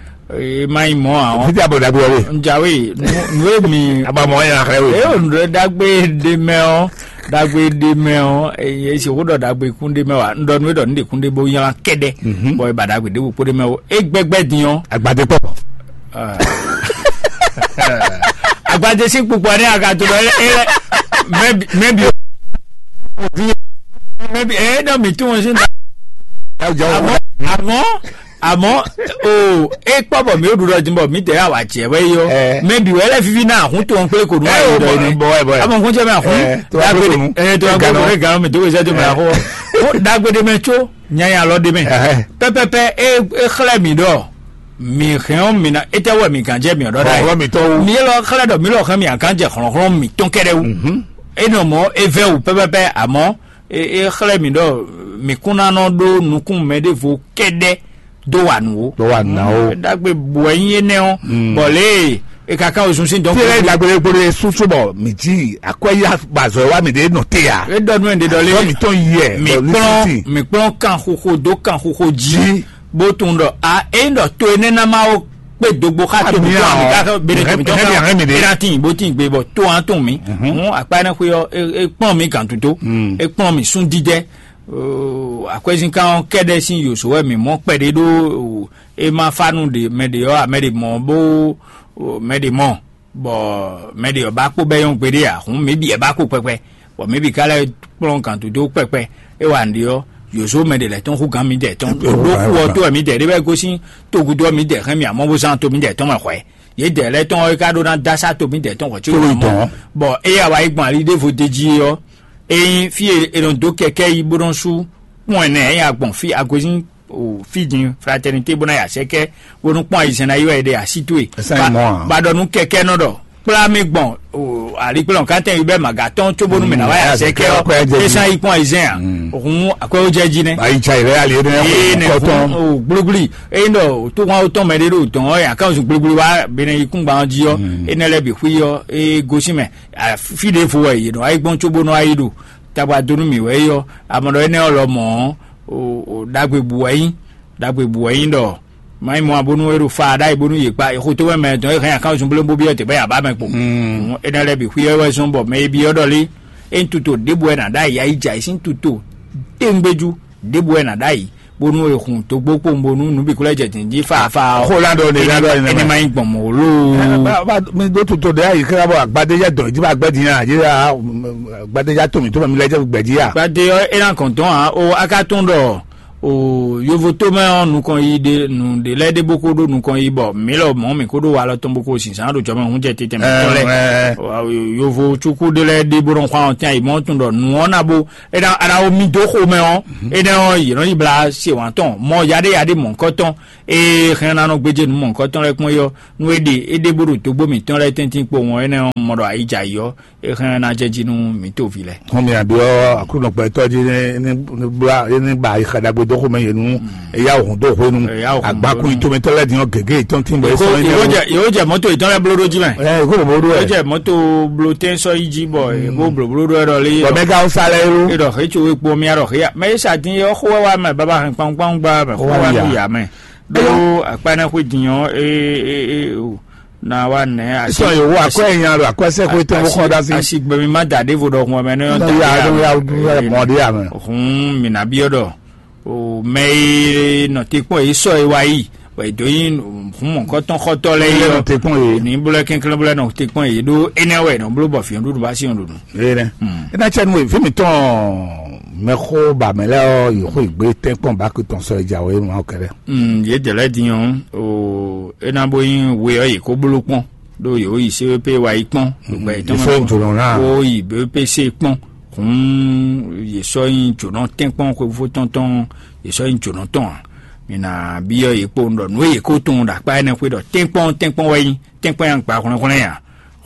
Ee, má nyí mɔ̌ ǎ. Fítí abɔ dagbe wɛ. Njawe, nú èmi. Abamɔ yẹn axlɛ wɛ. Ee, nǔ ɖagbe ɖe mɛ ɔ́, ɖagbe ɖe mɛ ɔ́, eye si xó ɖɔ ɖagbe kún ɖe mɛ wa, un ɖɔ nú é ɖɔ nú ɖe kún ɖe bó nylá kɛɖɛ, bɔ é ba ɖagbe ɖěbǔ kpó ɖe mɛ o. É gbɛgbɛ din ɔ́. Agbadé kpɔ. Agbadé sín kpukpɔ ní agato ɖɔ é lɛ mɛbi mɛbi mɛbi ɛ ɖɔ mi tún wọn sí. Àmọ́ àmọ́ àmọ́ o é kpɔ bɔ mi ó ɖuɖɔ dín bɔ mi tẹ yà wà jẹ wɛ yɔ. Ɛ. Mɛbi wɛ lɛ fifi náà hún tó ń pé kò nú Ɛ, àyè o, dɔ bɔ- ni. Bɔ- bɔ- bɔ- Àmọ́ kún jẹ́ mi àhún. Ɛ, tó wá pé kò nú. Ɛ tó wá pé kò nú. Ɛ gànú mi tó kẹsẹ́ tó mi àhún. Ó dagbe ɖe mɛ tso nyanya lɔ ɖe mɛ. Ɛhɛ. Pɛpɛpɛ é é xlɛ́ mi ɖɔ mi hɛn ɔ́ mi na étɛ́ wɛ mi gǎn jɛ mi ɔ́ ɖɔ ɖ'ayǐ. Xlɔ́xlɔ́ mitɔn wú. Mi élɔ́ xlɛ́ ɖɔ mi lɔ hɛn mi agán jɛ xlɔ́xlɔ́ mitɔn kɛ́ɖɛ́ wú. É nɔ mɔ̌ é vɛ́ wǔ pɛ́pɛ́pɛ́, àmọ́ é é xlɛ́ mi ɖɔ mi kún ná nɔ ɖó nukún mɛ ɖěvo kɛ́ɖɛ́ dó wa nǔ ó. Dó wa nǔ ná ó. Ɖagbe bǔ wɛ nyí énɛ́ ɔ́, bɔ lě e è ka ká wezun sín dɔn. Tí ɛ dagbe ɖé gbóɖó sú sú bɔ mǐ jí akwɛ́ yá ba azɔ̌ wá mǐ ɖé nɔ te ǎ. É ɖɔ nú ɛ ɖe ɖɔ lé. Azɔ̌ mǐtɔn yi ɛ, mi bɔ kplɔ́n lísítì. Mi kplɔ́n kan xoxo dó kan xoxo jí. Jí. Bó tunwun ɖɔ a ényí ɖɔ to énɛ́ ná má ó kpé dogbo xá to Ami mǐtɔn ami ǎ. Ká xɔ bene to Hɛn- mǐtɔn hɛn mi ká hɛn mi ɖe. É ná tín bó tín gbé bɔ to hàn tún mí. Hún akpá énɛ́ xwé ɔ́ é é kplɔ́n mí gǎn tutó. Mm. É kplɔ́n mí sún dídɛ́. Akwɛ́zínkán ɔ́ kɛ́ɖɛ́ sín yǒzo wɛ mǐ mɔ kpɛɖé ɖó é má fá nú ɖe mɛ ɖě ɔ́, mɛ ɖě mɔ bó mɛ ɖě mɔ. Bɔ mɛ ɖě ɔ́ ba kpó bɛ́ nyɔ́ gbeɖé ǎ, hǔn mǐ bǐ ɛ ba kpó kpɛkpɛ, bɔ mǐ bǐ ka lɛ́ kplɔ́n gǎn dó kpɛkpɛ. É wa nǔɖé ɔ́, yǒzo mɛ ɖě lɛ́ɛ tɔn hú gǎn mǐdɛɛ tɔn. Ɖó kú ɔ́ tó wɛ mǐdɛɛ ɖé wɛ gosín togudo ɔ́ mǐdɛɛ hɛn mì amɔ́ bó zán to mǐdɛɛ tɔn mɛ hwɛ̌. Yědɛɛ lɛ́ɛ tɔn ɔ́ é ka ɖó ná dó asá to mǐdɛɛ tɔn hwɛ̌ có Tó yi mɔ. Tɔn. Bɔ éyɛ́ wa yi gbɔn ali ɖěvo d'é jí é ɔ́, ényí fí e è nɔ dó kɛkɛ́ yi bó nɔ́ sú kpɔ́n ɛnɛ ɛ ya gbɔn fí a gosín o fí din fraternité bó ná yi asɛkɛ bó nú kpɔ́n ayizɛ́n ná yi wɛ è ɖe así towe. Esa yi mɔ a? Ba ɖɔ nú kɛkɛ́ nɔ ɖɔ kplá mi gbɔn o alikplɔn kátɛn yi bɛ maga tɔn tso bónú mɛ ná wá yi asɛkɛ ɔ. Esa yi kpɔ́n ayizɛ́n a? Òhun akwɛwo jɛ jí nɛ. Ayi tsa yi lɛ ali yɛ Ee, nɛ kɔtɔn. Fún o gblógblí eye ɖɔ tó wọn tɔn mɛ ɖé ɖo dɔn ɔ yà ká zun gblógblí wá bene yi kún gban jí ɔ. Enɛ lɛ bi xwí ɔ e gosín mɛ. Fí ɖě vo wɛ yě nɔ ayi gbɔn tso bónú ayi ɖo tagba dó nú mǐ wɛ é ɔ́. Amɔ ɖɔ énɛ́ ɔ́ lɔ mɔ̌ ɔ́, o ɖagbe bǔ wɛ nyí. Ɖagbe bǔ wɛ nyí ɖɔ má nyí mɔ bónú é ɖo fa ɖ'ayǐ bónú yě kpa xo tó mɛ mɛ tɔn é hɛn akáwun zunblé bó byɔ́ tɛgbɛ yě abá mɛ kpo. Énɛ́ lɛ́ɛ bǐ xwí ɔ́ wɛ zɔ́n bɔ mɛ e byɔ́ ɖɔ lé é nyí tuto ɖěbǔ wɛ nǎ ɖ'ayǐ, ayi jɛ ayǐ sín tuto téŋgbéjú ɖěbǔ wɛ nǎ ɖ'ayǐ bónú è hun dǒgbó kpowun bónú nǔ bǐ kó lɛ́ jɛ dǐndín faafa ɔ́. Xó la ɖɔ ne la ɖɔ ne. Ɛnɛ ma nyí gbɔn mɔ̌ loo. Mi ɖó tuto ɖe ayi xlá bɔ agbadéjá dɔn ìdí bá gbɛdì yàn àdí agbadéjá tó mi tó mi lɛ jẹ gbẹdì yà. Gbadé ɔ́ é ná gɔn dɔn ǎ o, a ka tunwun ɖɔ O yovo tó mɛ ɔ́, nukɔn yi ɖe nǔ ɖe lɛ́ɛ ɖé bó kó ɖó nukɔn yi bɔ mǐ lɔ mɔ̌ mǐ kó ɖó walɔ tɔn bó kó zǐnzán ɖo jɔmɛ hun jɛ tete mǐtɔn lɛ́ɛ. Yovo cúkú ɖé lɛ́ɛ ɖé bó nɔ xwá ɔ́ tɛn ayǐ mɔ̌ tun ɖɔ nǔ ɔ́ ná bó é ná aɖawo mì dó xomɛ ɔ́, énɛ́ ɔ́ yě nɔ yi blá se wǎn tɔn mɔ yaɖéyaɖé mɔ̌hunkɔtɔn. Ée xɛn ná nɔ gbéjé nǔ mɔ̌hunkɔtɔn lɛ́ɛ kpɔ́n é ɔ́, nú é ɖe é ɖe bó ɖo dǒgbó mǐtɔn lɛ́ɛ tɛ́ntin kpo wɔn énɛ́ ɔ́, mɔ ɖɔ ayǐ jɛ ayǐ ɔ́, é hɛn ná jɛ jí nú mǐ toví lɛ́ɛ. Hɔn mì aɖyɔ Aklúnɔ gbɛtɔ́ jí ní ní ní blá ní ba ayixa ɖagbe dó xomɛ yě nú eya hɔn dó hwenu. Eya hɔn dó agbakun hwenu. Itomɛtɔ lɛ́ɛ din ɔ́ gěgé yetɔn tín bɔ é sɔ́ ní yóò jɛ yóò jɛ mɔto yetɔn lɛ bló ɖó jí mɛ. Ɛ kó bòbò ɖó yóò ɛ. Jɛ mɔto bló tɛn sɔ yi jí bɔ é bó bló bló ɖó ɛ ɖɔ lé. Bɔ mɛ ka sa lɛ yó. É ɖɔ xé tso wé kpó mía ɖɔ xé ya mɛ é sa dín é xó wɛ wá mɛ baba hɛn kpawun kpawun gbá mɛ xó wá mɛ ya mɛ. Ɖó akpa ɛnɛ xwé din ɔ́ é é é o na wa nɛ asi. Sɔ yòówó akɔ ɛ nya ɖo akɔ ɛsɛ xwé tɛn bó xɔ ɖa sí. Asi gbɛmí má da ɖěvo ɖɔ hun ɔmɛ nɛ. Nɔ ya nɔ ya ya mɔ ɖé ya mɛ. Hun mi na biɔ ɖɔ o mɛ e nɔ te kpɔn yi sɔ e wa yi bɔ e do yi hun mɔkɔtɔn xɔtɔ lɛ yi. Nɔ te kpɔn yi. Ni bolo kɛnklɛn bolo nɔ te kpɔn yi ɖó enɛ wɛ nɔ bolo bɔ fiɔ ɖuɖu ba si ɖuɖu. Eye nɛ. Ena tsɛ nu evi mi tɔn mɛxó ba mɛ lɛ ɔ yòókù igbe tɛnkpɔn ba kutɔn sɔ ìjà wɛ ma kɛlɛ. Yě dɛ lɛ́ din ɔ́, o é ná bó nyí we ɔ́ yě kó bló kpɔ́n, ɖó yě wó yi C V P wa yi kpɔ́n, gbɛ yětɔn mɛ kpɔ́n, wó yi B P C kpɔ́n, hǔn yě sɔ́ nyí jǒnɔ tɛ́nkpɔ́n xwefó tɔn tɔn, yě sɔ́ nyí jǒnɔ tɔn ǎ. Mǐ ná byɔ́ yě kpowun ɖɔ nǔ e yě ko tunwun ɖo akpá énɛ́ xwé ɖɔ tɛ́nkpɔ́n tɛ́nkpɔ́n wɛ nyí, tɛ́nkpɔ́n nyí agba hwlɛ́nhwlɛ́n ǎ.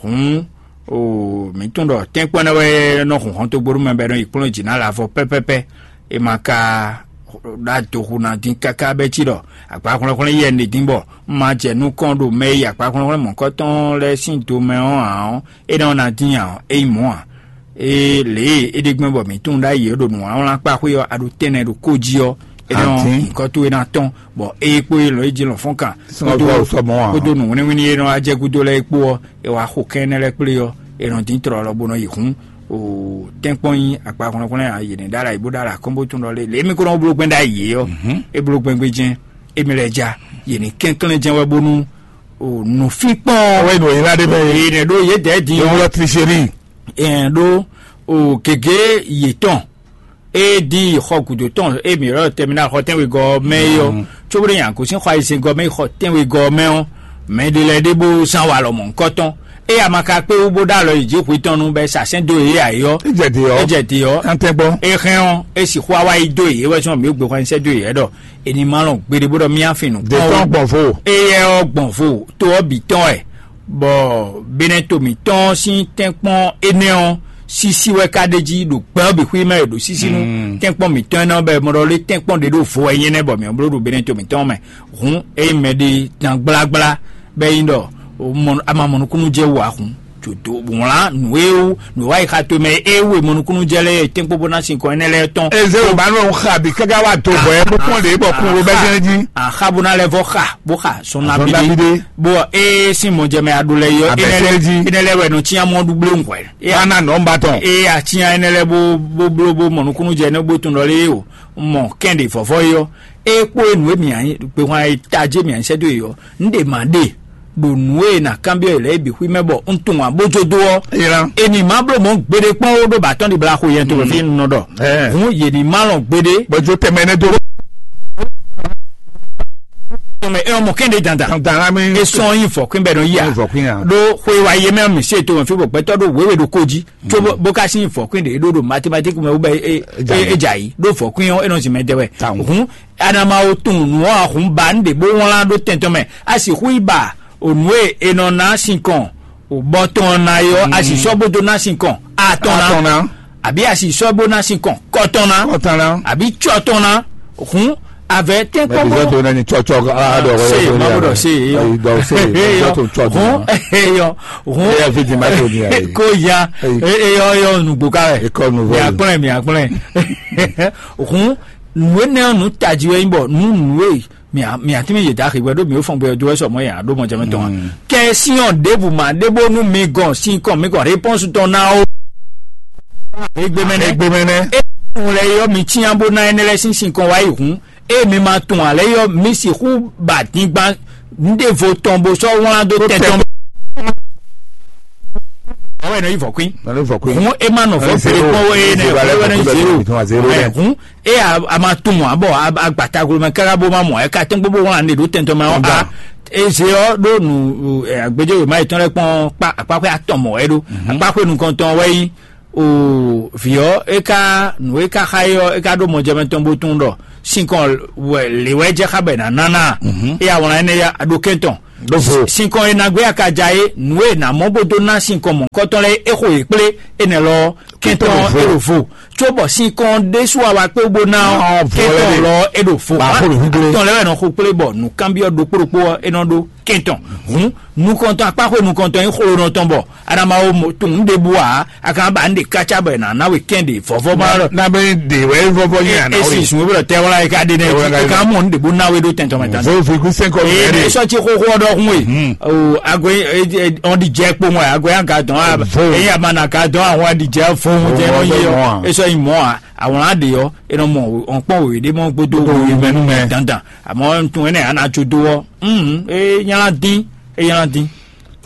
Hǔn o mǐ tunwun ɖɔ tɛ́nkpɔ́n énɛ́ wɛ nɔ hun hɔntogbóɖó mɛ bɔ é nɔ yi kplɔ́n jǐ ná lavɔ pɛ́pɛ́pɛ́. È ma ka ɖó adoxu ná dín káká bɛ́ cí ɖɔ agbǎ hwlɛ́nhwlɛ́n yɛ un ɖe dín bɔ un ma jɛ nukɔn ɖo mɛ e yi agbǎ hwlɛ́nhwlɛ́n mɔ̌kɔtɔn lɛ́ɛ sín do mɛ ɔ́ ǎ ɔ́, é nɔ ná dín ǎ ɔ́, é nyí mɔ̌ ǎ. Ée lě e é ɖe gbɛ́ bɔ mǐ tunwun ɖ'ayǐ ɔ́ ɖo nǔwlánwlánwlán kpáxwé ɔ́, a ɖo tɛ́nnɛ ɖo kó jí ɔ́, é nɔ nyǐkɔ towe ná tɔ́n, bɔ ée kpó é lɔ̌ é jí lɔ̌nfɔ́nkan kpódó nǔwínníwínní e nɔ wá jɛ gúdo lɛ́ɛ é kpó ɔ́, è wá xo kɛ́n énɛ́ lɛ́ɛ kplé ɔ́, è nɔ dín tlɔlɔ bó nɔ yi hǔn. O tɛ́nkpɔ́n nyí akpa hwlɛ́nhwlɛ́n ǎ, yě ní ɖó alɔ ayǐ bó ɖó alɔ akɔ́nbótún ɖɔ lé lě mi ko nɔ bló gbɛn ɖ'ayǐ é ɔ́, é bló gbɛn gbé jɛ́n, émí lɛ́ɛ ja, yě ní kɛnklɛ́n jɛ́n wɛ bónú o nǔfínkpɔ́n Wɛ nɔ yìí lá ɖé mɛ. Yě nɛ ɖó yě dɛ̌ din ɔ́, Ewúrẹ́ tricherie. Ɛn ɖó o gěgé yětɔn e dín yi xɔ gǔdo tɔn e mǐ ylɔ́ tɛmina xɔ tɛnwegɔ́ ɔ́ mɛ é ɔ́, cóbónú nyi agosín xɔ ayizɛngɔ́ mɛ yi xɔ tɛnwegɔ́ ɔ́ mɛ ɔ́, mɛ ɖé lɛ́ɛ ɖé bó zán walɔ mɔ̌hunkɔtɔn. Ée a ma ka kpé wú bó ɖó alɔ yi jǐ hwetɔ́n nu bɔ é sa sɛ́n dó yě ǎ é ɔ́, É jɛ te ɔ́. É jɛ te ɔ́, An tɛ gbɔ. É hɛn ɔ́, é sixú wá wá yi dó yě wɛ sɔn mǐ gbé xɔ nyi sɛ́ dó yě wɛ ɖɔ è ní ma lɔn gbeɖé bó ɖɔ mí á fin nǔ Dé kpɔ́n tɔn ó. Gbɔn vo. Éyɛ́ ɔ́ gbɔn vo to ɔ́ bǐ tɔn wɛ, bɔ Benɛto mǐtɔn sín tɛ́nkpɔ́n énɛ́ ɔ́ sísí wɛ ka ɖ'é jí ɖo gbɛ ɔ́ bǐ xwí mɛ e ɖo sísí nú tɛ́nkpɔ́n mǐtɔn énɛ́ ɔ́ bɔ è mɔ ɖɔ lé tɛ́nkpɔ́n ɖě ɖo vo wɛ nyí énɛ́ bɔ mǐ bló ɖo Benɛto mǐtɔn mɛ. Hǔn ényí mɛɖé dán gblágbla bɔ é nyí ɖɔ o mɔ- a ma mɔ nukúnnú jɛ wú ǎ hǔn, jǒdó wlán nǔ e wú nǔ e wá yi xa to mɛ e wú e mɔ nukúnnú jɛ lɛ́ɛ tɛ́nkpɔ́n bó ná sinkɔn énɛ́ lɛ́ɛ tɔn. Eze o ba nɔ xa bi kaka wa do bɔ ɛ kpɔkpɔ de bɔ kun wo bɛ jɛn ji. Axa bó ná lɛ vɔ xa bó xa sɔn Sɔn nabide. Nabide. Bó e sin mɔjɛmɛ aɖo lɛ yɔ Abɛ énɛ́ lɛ sɛnɛ ji. Énɛ́ lɛ wɛ nɔ tsinya mɔ ɖu gblé ŋhwɛ. Ana nɔ ba tɔn. E atsinya énɛ́ lɛ bó bó bló bó mɔ nukúnnú jɛ énɛ́ bó tun ɖɔ lé o mɔ kɛn ɖe vɔvɔ yɔ. E kpó e nǔ e mǐ anyi gbe hwan e tajé mǐ anyi sɛ́ dó e yɔ. Un ɖe mǎ ɖe ɖo nǔ e nǎ kanbyɔ́ yě lɛ́ɛ bǐ xwí mɛ bɔ un tunwun abójódó ɔ́. Ényí ná. Emi má bló mɔ̌ gbeɖé kpɔ́n ó ɖó bǎtɔ́ ɖibla xo yɛn to fí un nɔ ɖɔ. Ɛ. Hǔn yě ní má lɔn gbeɖé. Gbɔjɔ tɛmɛ ne do. Tɔmɛ ɛ mɔ kɛn ɖe dandan. Dandan la mi. E sɔn yin vɔkwín bɛ nɔ yí a. Yin vɔkwín a. Ɖó xwe wa yé mɛ mi se to fí bɔ gbɛtɔ ɖó wéwe ɖo kó jí. Tso bó bó ka sin vɔkwín ɖe ɖó ɖo mathématique mɛ wó bɛ e e e dza yi ɖó vɔkwín ɔ́ e nɔ zin mɛ dɛ wɛ. Tawun. Hǔn anama wo tunwun nǔ ɔ́ ahun ba un ɖe bó wlán ɖó tɛn tɔn mɛ. A sixú yi ba o nǔ e è nɔ ná sinkɔn o bɔ tɔn ná é ɔ́, a sì sɔ́ bó dó ná sinkɔn atɔn ná. Atɔn ná. Àbí a sì sɔ́ bó ná sinkɔn kɔtɔn ná. Kɔtɔn ná. Àbí tsɔtɔn ná. Hǔn avɛ tɛ́nkpɔ́n Mɛ bizɔn to na ni tsɔtsɔ a dɔ wɛ se ma bo dɔ se ye yɔ. Dɔ se bizɔn to tsɔ Hǔn dɔn. Eyɔ hǔn Eya fi di ma to ni ayi. Ko ya Eyi. Eyɔ yɔ nugbo ka wɛ. Ekɔ nu vɔ. Miakplɛ miakplɛ. Hǔn nǔ énɛ́ ɔ́ nǔ tají wɛ nyí bɔ nǔ nǔ e mia mia tí mi yě da xixwɛ ɖó mi ó fɔn gbé ɔ́ dó wɛ sɔ mɔ yà ɖó mɔ jɛmɛ tɔn wa. Kɛ síɔn ɖěbù mà ɖé bónú mi gɔn sín kɔn mi gɔn réponse tɔn ná ó. Egbe mɛ nɛ. Egbe mɛ nɛ. E tun lɛ yɔ mi tiɲa bó ná ɛnɛ lɛ sín sin kɔn wá yi hǔn. E mi ma tun alɛ yɔ mi sixú ba dingban ɖěvo tɔn bó sɔ́ wlán dó tɛn tɔn. Ɛ nɔ yi vɔ̌kwín. Hǔn é má nɔ vɔ̌ gbé kpɔ́n wɛ é nɛ wɛ wɛ nɔ yi zéro. Hǔn é a ma tunwun ǎ bɔ agbatagblo mɛ káká bó má mɔ ɛ ka tɛ́n gbogbo wlán ɖe ɖó tɛntɔn mɛ ɔ́ a. Eze ɔ́ ɖó nu agbéjéwé má yětɔn lɛ́ɛ kpɔ́n akpáxwé atɔn mɔ wɛ ɖó. Akpáxwé nukɔntɔn wɛ nyí o vǐ ɔ́ é ká nǔ e ká xa é ɔ́ é ká ɖó mɔjɛmɛ tɔn bó tunwun ɖɔ sinkɔn wɛ lě wɛ jɛ xá bɔ è nǎ ná ná. É awlán énɛ́ ya ɖó kɛntɔn. Sinkɔn e nǎgbé akaja é nǔ e nǎ mɔ bó dó ná sinkɔn mɔ̌hunkɔtɔn lɛ́ɛ é xo yě kplé énɛ́ lɔ kɛntɔn é ɖo vo. Có bɔ sinkɔn ɖésú awa kpé bó ná kɛntɔn lɔ é ɖo vo. Tɔn lɛ́ wɛ nɔ xo kplé bɔ nǔkanbyɔ́ ɖokpó ɖokpó ɔ́ é nɔ ɖó kɛntɔn. Hǔn nukɔntɔn akpáxwe nukɔntɔn nyí xolonɔ tɔn bɔ a nǎ ma wo tunwun ɖěbǔ ǎ. A ka ba nǔ ɖe kácá bɔ è nǎ ná we kɛn ɖe vɔvɔ ma ɖɔ. Nabɛ ɖe wɛ vɔvɔ nyɛ ana. Esi sun wɛrɛ tɛ wala yi ka ɖe nɛ yi ka mɔ nǔ ɖe bó ná we ɖo tɛntɔn mɛ tán. Vo fi kú sɛn kɔ. Ee ne sɔ tsi xoxo ɔdɔ hun we. O ago ɔn di jɛ kpowun ago ya ka dɔn a eyi a ma na ka dɔn ahun a di jɛ fo ohun jɛ nɔ yi ɔ esɔ yi mɔ a awlan de ɔ enɔ mɔ ɔnkpɔn wòye ɖe mɔ gbódó wòye mɛ nú mɛ dandan àmọ́ ntun ɛnɛ ana tso dó ɔ ee nyala dín ee nyala dín.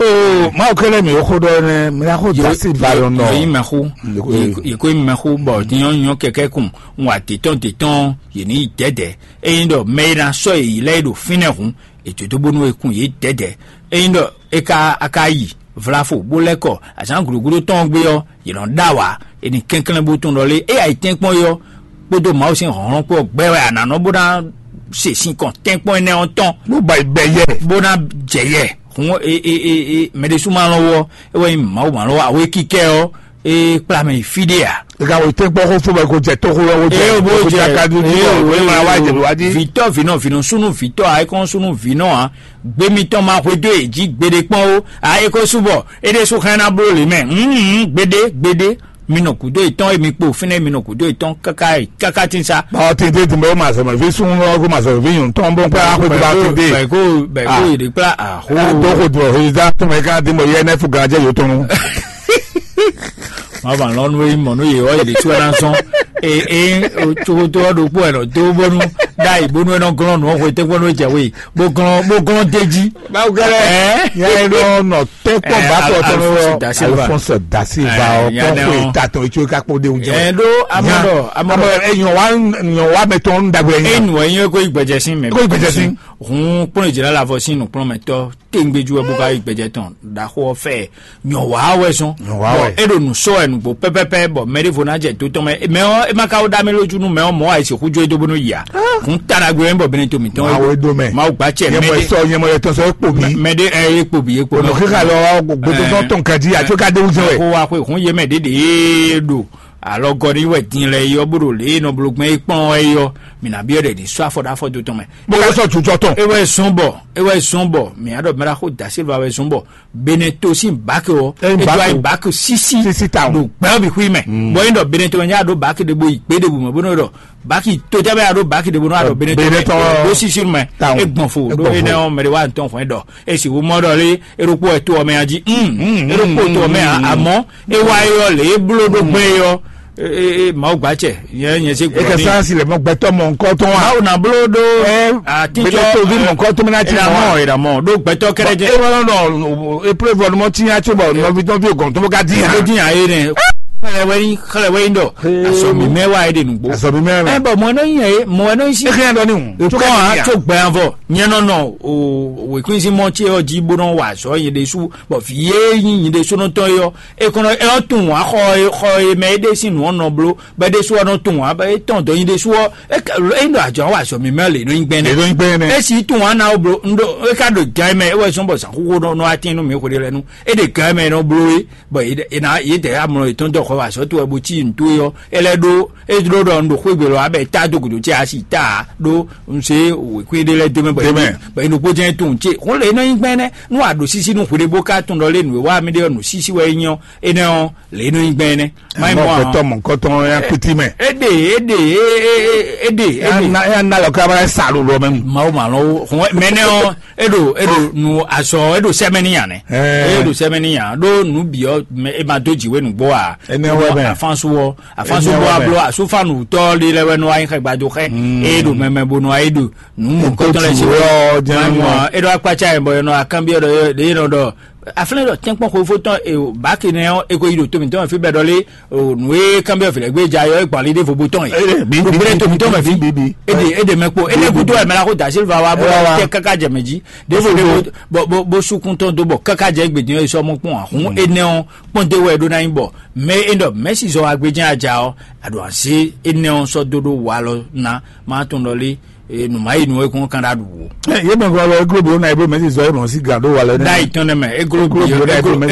Oo, Mawu kɛlɛ mi xó ɖɔ nɛ mi la xó dasi ba yɔ nɔ. Yɔ yi mɛ xó yɛ ko yi mɛ xó bɔ nyɔ nyɔ kɛkɛ kun ŋun atetɔn tetɔn yɛ ni yi dɛdɛ eyin ɖɔ mɛ yi na sɔ yi lɛ yi ɖo fínɛ hun ètò tó bónú ekun yɛ dɛdɛ eyin ɖɔ eka aka yi vlafo bó lɛ kɔ azán guɖuguɖu tɔn gbé ɔ yɛ nɔ ɖa wa eni kɛnklɛn bó tɔn ɖɔ lé eya yi tɛnkpɔn yɔ kpódó Mawu sín hlɔ̌nhlɔ́n kpó ɔ́ gbɛ wɛ a nǎ nɔ bó ná se sinkɔn tɛ́nkpɔ́n énɛ́ ɔ́ tɔn. Ló ba yi bɛ yɛ. Bó ná jɛ yɛ hun e e e e mɛ ɖésú ma lɔn wɔ e wɛ nyí Mawu ma lɔn wɔ awo e kíkɛ ɔ́ e kplá mɛ yi fí ɖé a. Ega wo tɛ́nkpɔ́n xó fó bɛ ko jɛ tóxó lɔ ko jɛ. Eye o bó ko jɛ jaka dúdú eye o o e ma wá jɛ wá dí. Vitɔ vinɔ vinɔ sunu vitɔ a e kɔn sunu vinɔ a gbé mitɔn ma xwedó e jí gbeɖé kpɔn o a e ko subɔ e ɖésú xlɛ́ ná bló lě mɛ. Gbeɖé gbeɖé mi nɔ gǔdo yětɔn e mi kpo fínɛ́ mi nɔ gǔdo yětɔn káká káká tín sá. Báwo tete dùn bẹ́ẹ̀ ma sọ̀rọ̀ fi sún lọ́wọ́ kó ma sọ̀rọ̀ fi yùn tán bó pẹ́ á kó tó bá tete. Bẹ̀kó bẹ̀kó yèdè kplá àhó. Dɔw ko dùn ɔ̀hún ìdá tó mẹ́ ká dín bọ̀ yẹ ẹnẹ́ fún gànjẹ́ yóò tún. Má bàa lọ́nu eyín mọ̀ nú yè ọ́ yèdè tí wọ́n ná sán. Ee ee tsokoto ɔ́ ɖokpó ẹ̀ nɔ dó bónú ɖá ìbónú ẹ̀ nɔ glɔ́n nù ɔ́ hwe tẹ́gbọ́n nú jẹ̀wé bó glɔ́n bó glɔ́n déjí. Báwo gẹ́lẹ́ yẹn ló nọ tẹ́kọ̀ bá tọ̀ tọ́nu yọ Alphonse da Silva ɔ kɔn ko ta tɔn etso kakpo de oúnjẹ ẹ ɖó amọ̀dọ̀ amọ̀dọ̀ ẹ yàn wá yàn wá mẹ tɔn ń dàgbẹ́ yẹn. Enu ẹ yẹn kó ìgbẹ́jẹ sí mẹ. Kó ìgbẹ́jẹ sí. Hun kpọ́n ìjìlá la fọ sí nùkplọ́n mẹ tọ́ téńgbéjú ẹ bó ká ìgbẹ́jẹ tán ɖaxó ɔfẹ́ yàn wá wẹ sún. Yàn wá wẹ. E ɖo nù sɔ ẹ nùgbò pẹ́pẹ́pẹ́ bọ̀ mẹ ɖé vo ná jẹ tó tɔn mẹ mẹ ɔ ẹ má ká wó dá mi lójú nú mẹ ɔ mọ àìsí kújú ẹ dó bónú yà. Hun tàdàgbé ẹ ń bọ̀ bẹ́ni tó mi tán. Máa wọ edo mẹ. Máa gbà cẹ mẹ Yẹmọ dé. Sọ yẹmọ yẹ tọsọ ekpo mi. Mẹ dé ẹ ekpo bi ekpo Ọ̀nà kíkà lọ gbogbo tó tán tán kan jí àti ó ká dé wúzẹ wẹ. Kó wa xwe hun yé mɛ ɖéɖé ɖo alɔgɔ ní wɛ din lɛ yɔ bó ɖo lě nɔ blo gbɛn é kpɔn ɛ yɔ. Mina biɔ ɖe ní sɔ afɔ ɖe afɔ do tɔn mɛ. Bó ká sɔ tuntun tɔn. Ewɛ sɔn bɔ ewɛ sɔn bɔ mɛ adɔ mɛra xó da silva wɛ sɔn bɔ Beneto sín bákì ɔ Ẹ ń ètò bákì. Àyè bákì sísí Sísí ta o. Ɖo gbɛn bi xui mɛ bɔn yín dɔ Beneto nya ɖo bákì ɖe bo yi gbé ɖe bu mɛ bó nɔ dɔ bákì tó tɛ bɛ ya ɖo bákì ɖe bo nɔ adɔ Beneto Beneto. Ɖo sísí mɛ Ta o. Egbɔn fo Egbɔn ɖo fo. Enɛ ɔ mɛ ɖe wa ntɔn fɔ ɛ dɔ esi wo mɔ dɔ lé eɖokpo ɛ to ɔmɛ ya dzi. Eɖokpo to ɔmɛ ya amɔ ewa yɔ lé eblo ɖo gbɛ yɔ. Ee Mawu gba cɛ yɛ nyɛ se Eke gbɔ sansi le mɔ gbɛtɔ mɔ nkɔ tɔn wa. Mawu na blo ɖo Ɛ, atijɔ gbɛtɔ vi mɔ nkɔ tɔn mi na ti mɔ. Ìdààmú ìdààmú ɖo gbɛtɔ kɛrɛ jɛ. E wala nɔ e pre vɔ mɔ ti nya tso bɔ nɔvi nɔvi o gɔn tó ka di ya. Ló dín àyè nɛ xlɛ wɛ yín xlɛ wɛ yín dɔ asɔmi mɛ wa yé de nugbo. Asɔmi mɛ mɛ. Ɛ bɔn mɔ ɛnɔ yin yɛ mɔ ɛnɔ yin si. E kɛ dɔ ni o. Tó kɛ a tó gbɛ yan vɔ nyɛ nɔ nɔ o wekun si mɔ tse ɔ dzi bó nɔ wa azɔ yin de su bɔn fi yé yin yin de su nɔ tɔn yɔ e kɔnɔ e ɔ tun wa xɔ e xɔ e mɛ e de sin nu ɔnɔ blo bɛ de su ɔnɔ tun wa bɛ e tɔn dɔ yin de su ɔ e ka e nɔ adzɔ wa azɔ mi mɛ le nɔ yin gbɛnɛ. Èdè ń gbé ne. Esi tun wa na o blo ndo e ka do gan mɛ e wɛ sɔn bɔ zan xoxo nɔ nɔ atin nu mi xo de lɛ nu e de gan mɛ nɔ blo e. Bɔn e na ye tɛ amlɔ etɔn dɔ xɔ wa sɔ to wɛ bo tsi nto yɔ e lɛ ɖo e ɖo ɖɔ ndo xwegbe lɔ abɛ ta do gudo tse asi ta ɖo nse wekwe ɖe lɛ deme bɔ Deme. Bɔ enu kpo jɛ tun tse xo le nɔ yin gbɛnɛ nu a ɖo sisi nu xwede bo ka tun ɖɔ le nu wa mi ɖe nu sisi wɛ nyɔ enɛ ɔ le nɔ yin gbɛnɛ. Mai mɔ Mɔ gbɛtɔ mɔ nkɔtɔn ya kuti mɛ. Ede ede ede ede. Ya na lɔ kaba sa lolo mɛ. Mawu ma lɔ wo mɛnɛ ɔ eɖo eɖo nu azɔ eɖo sɛmɛni yan nɛ. Eɖo sɛmɛni yan ɖo nu biɔ mɛ e ma do dziwe nugbo a. Enɛ wɛ mɛ. Afansu wɔ afansu Enɛ bɔ wɛ mɛ. Ablɔ asufanu tɔ li lɛ wɛ nɔ ayi xɛ gbado xɛ. Eɖo mɛmɛ bo nɔ ayi ɖo nu mɔ Nto kɔtɔ lɛ si dziwe wɛ. Ɔ jɛn Mai mɔ mɔ. Eɖo akpatsa yɛ bɔ yɛ nɔ akanbi eɖo ye nɔ ɖɔ Aflɛ́n ɖɔ tɛ́nkpɔ́n xwefó tɔn e báki nɛ ɔ́, e ko yi ɖo to mǐtɔn mɛ fí bɛ́ ɖɔ lé, o nǔ e kanbyɔ́ vǐ lɛ́ gbé ja yɔ é gbɔn ali ɖěvo bó tɔn yi. Gbogbo ɖé to mǐtɔn mɛ fí. Ede ede mɛ kpo ene kudo wɛ mɛ la ko da silva wa bó tɛ káká jɛ mɛ jí. Ɖěvo ɖěvo bó bó sukun tɔn dó bɔ káká jɛ gbedin ɔ́ yi sɔ mɔ kpɔn ahun énɛ́ ɔ́ kpɔn dé wɛ ɖó ná nyí bɔ mɛ e ɖɔ mɛ̌si zɔ wa gbé jɛ́n aja ɔ́, a ɖo azě énɛ́ ɔ́ sɔ́ dó ɖó walɔ ná má tɔn ɖɔ lé. Nǔ má yi nǔ e kún kan ɖa ɖu wò. Yé mɛ gɔlɔ eglo bi wona eblo mɛ si zɔ eblo si gan ɖó wa lɛ nɛ. Ɖayi tɔn nɛ mɛ eglo bi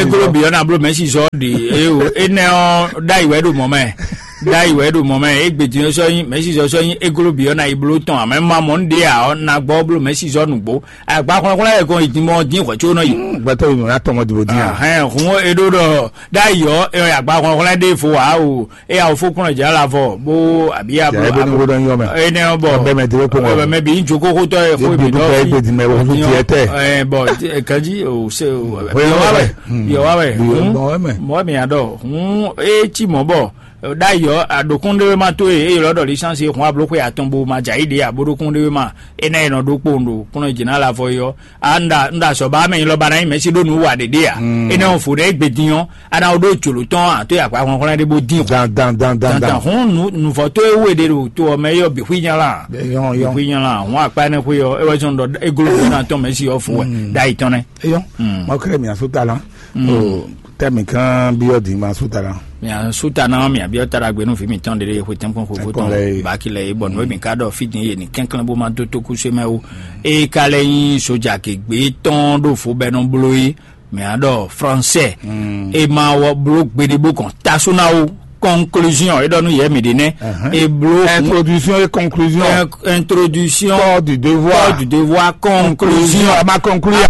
eglo bi yɔna blo mɛ si zɔ ɖe eye o enɛ ɔ ɖayi wɛ ɖo mɔ mɛ. Ɖayi wɛ ɖo mɔ mɛ egbe din sɔ nyi mɛ si zɔ sɔ nyi eglo bi yɔna yi blo tɔn amɛ ma mɔ n ɖe a ɔ na gbɔ blo mɛ si zɔ nugbo agba xɔlɔxɔlɔ yɛ kɔn yi din mɔ din xɔ tso nɔ yi. Gbɛtɔ yi nɔ ya tɔmɔ dibo din a. Hɛn hun eɖo ɖɔ ɖayi ɔ e ɔ agba xɔlɔxɔlɔ ɖe fo wa o. E awofó kplɔ́n jǎ lavɔ bó abí Jǎ ebo ní wó ɖɔ nyɔ mɛ. Enɛ ɔ bɔ Ɔbɛ mɛ dé kpɔ́n wɔ. Mɛ bí ń jókòó xótó ɛ xó Ebi mi dúpẹ́ dɔ egbe dì mɛ wọ́n fi tiẹ̀ tɛ. Ɛ bɔ kɛji o se o Bóyá yɔ wa wɛ. Wɛ yɔ wa wɛ Bóyá hun Wɛ mɛ. Mɔ mi adɔ hun e tsi mɔ bɔ ɖayɔ aɖokún ɖé ma tó e e yɔlɔ ɖɔ lisansi hun ablo xwe atɔn bo ma dza yi ɖe aboɖokún ɖé ma enɛ e nɔ ɖó kpowun ɖo kplɔ́n jǐ ná lavɔ yɔ a nda nda sɔ ba mɛ nyilɔ ba na nyi mɛsi ɖo nu wa ɖeɖe a ene o fo ɖe egbe din ɔ ana o ɖo jolo tɔn a to ya kwa hɔnhɔn ɖe bo din o Dan dan dan dan dan dan. Hun nu nuvɔ to ewu ɖe ɖo to ɔ mɛ yɔ bi hui nyala Yɔn, yɔn. Hui nyala hun akpa ne hui ɔ ewɔ sɔn dɔ egolo na tɔn mɛsi ɔ fo wɛ da yi tɔn nɛ. Eyɔn, Mm. Mawu kɛlɛ mi aso ta la. O tɛ mi kan bi ɔ di ma aso ta la. Mia su ta na mia bi ɔ ta ɖagbe nu vi mi tɔn ɖeɖe xwe tɛnkpɔn xwe Tɛnkpɔn tɔn lɛ. Baki lɛ bɔ nu mi ka ɖɔ fi din ye ni kɛnklɛn bo ma do to kusu mɛ o e ka lɛ nyi soja ke gbe tɔn ɖo fo bɛ nɔ blo yi mɛ a ɖɔ français e ma wɔ blo gbeɖe bó kɔn taso na o conclusion e ɖɔ nu yɛ mi ɖe nɛ e blo Introduction et conclusion. Introduction Corps du devoir. Corps du devoir conclusion. A ma conclure.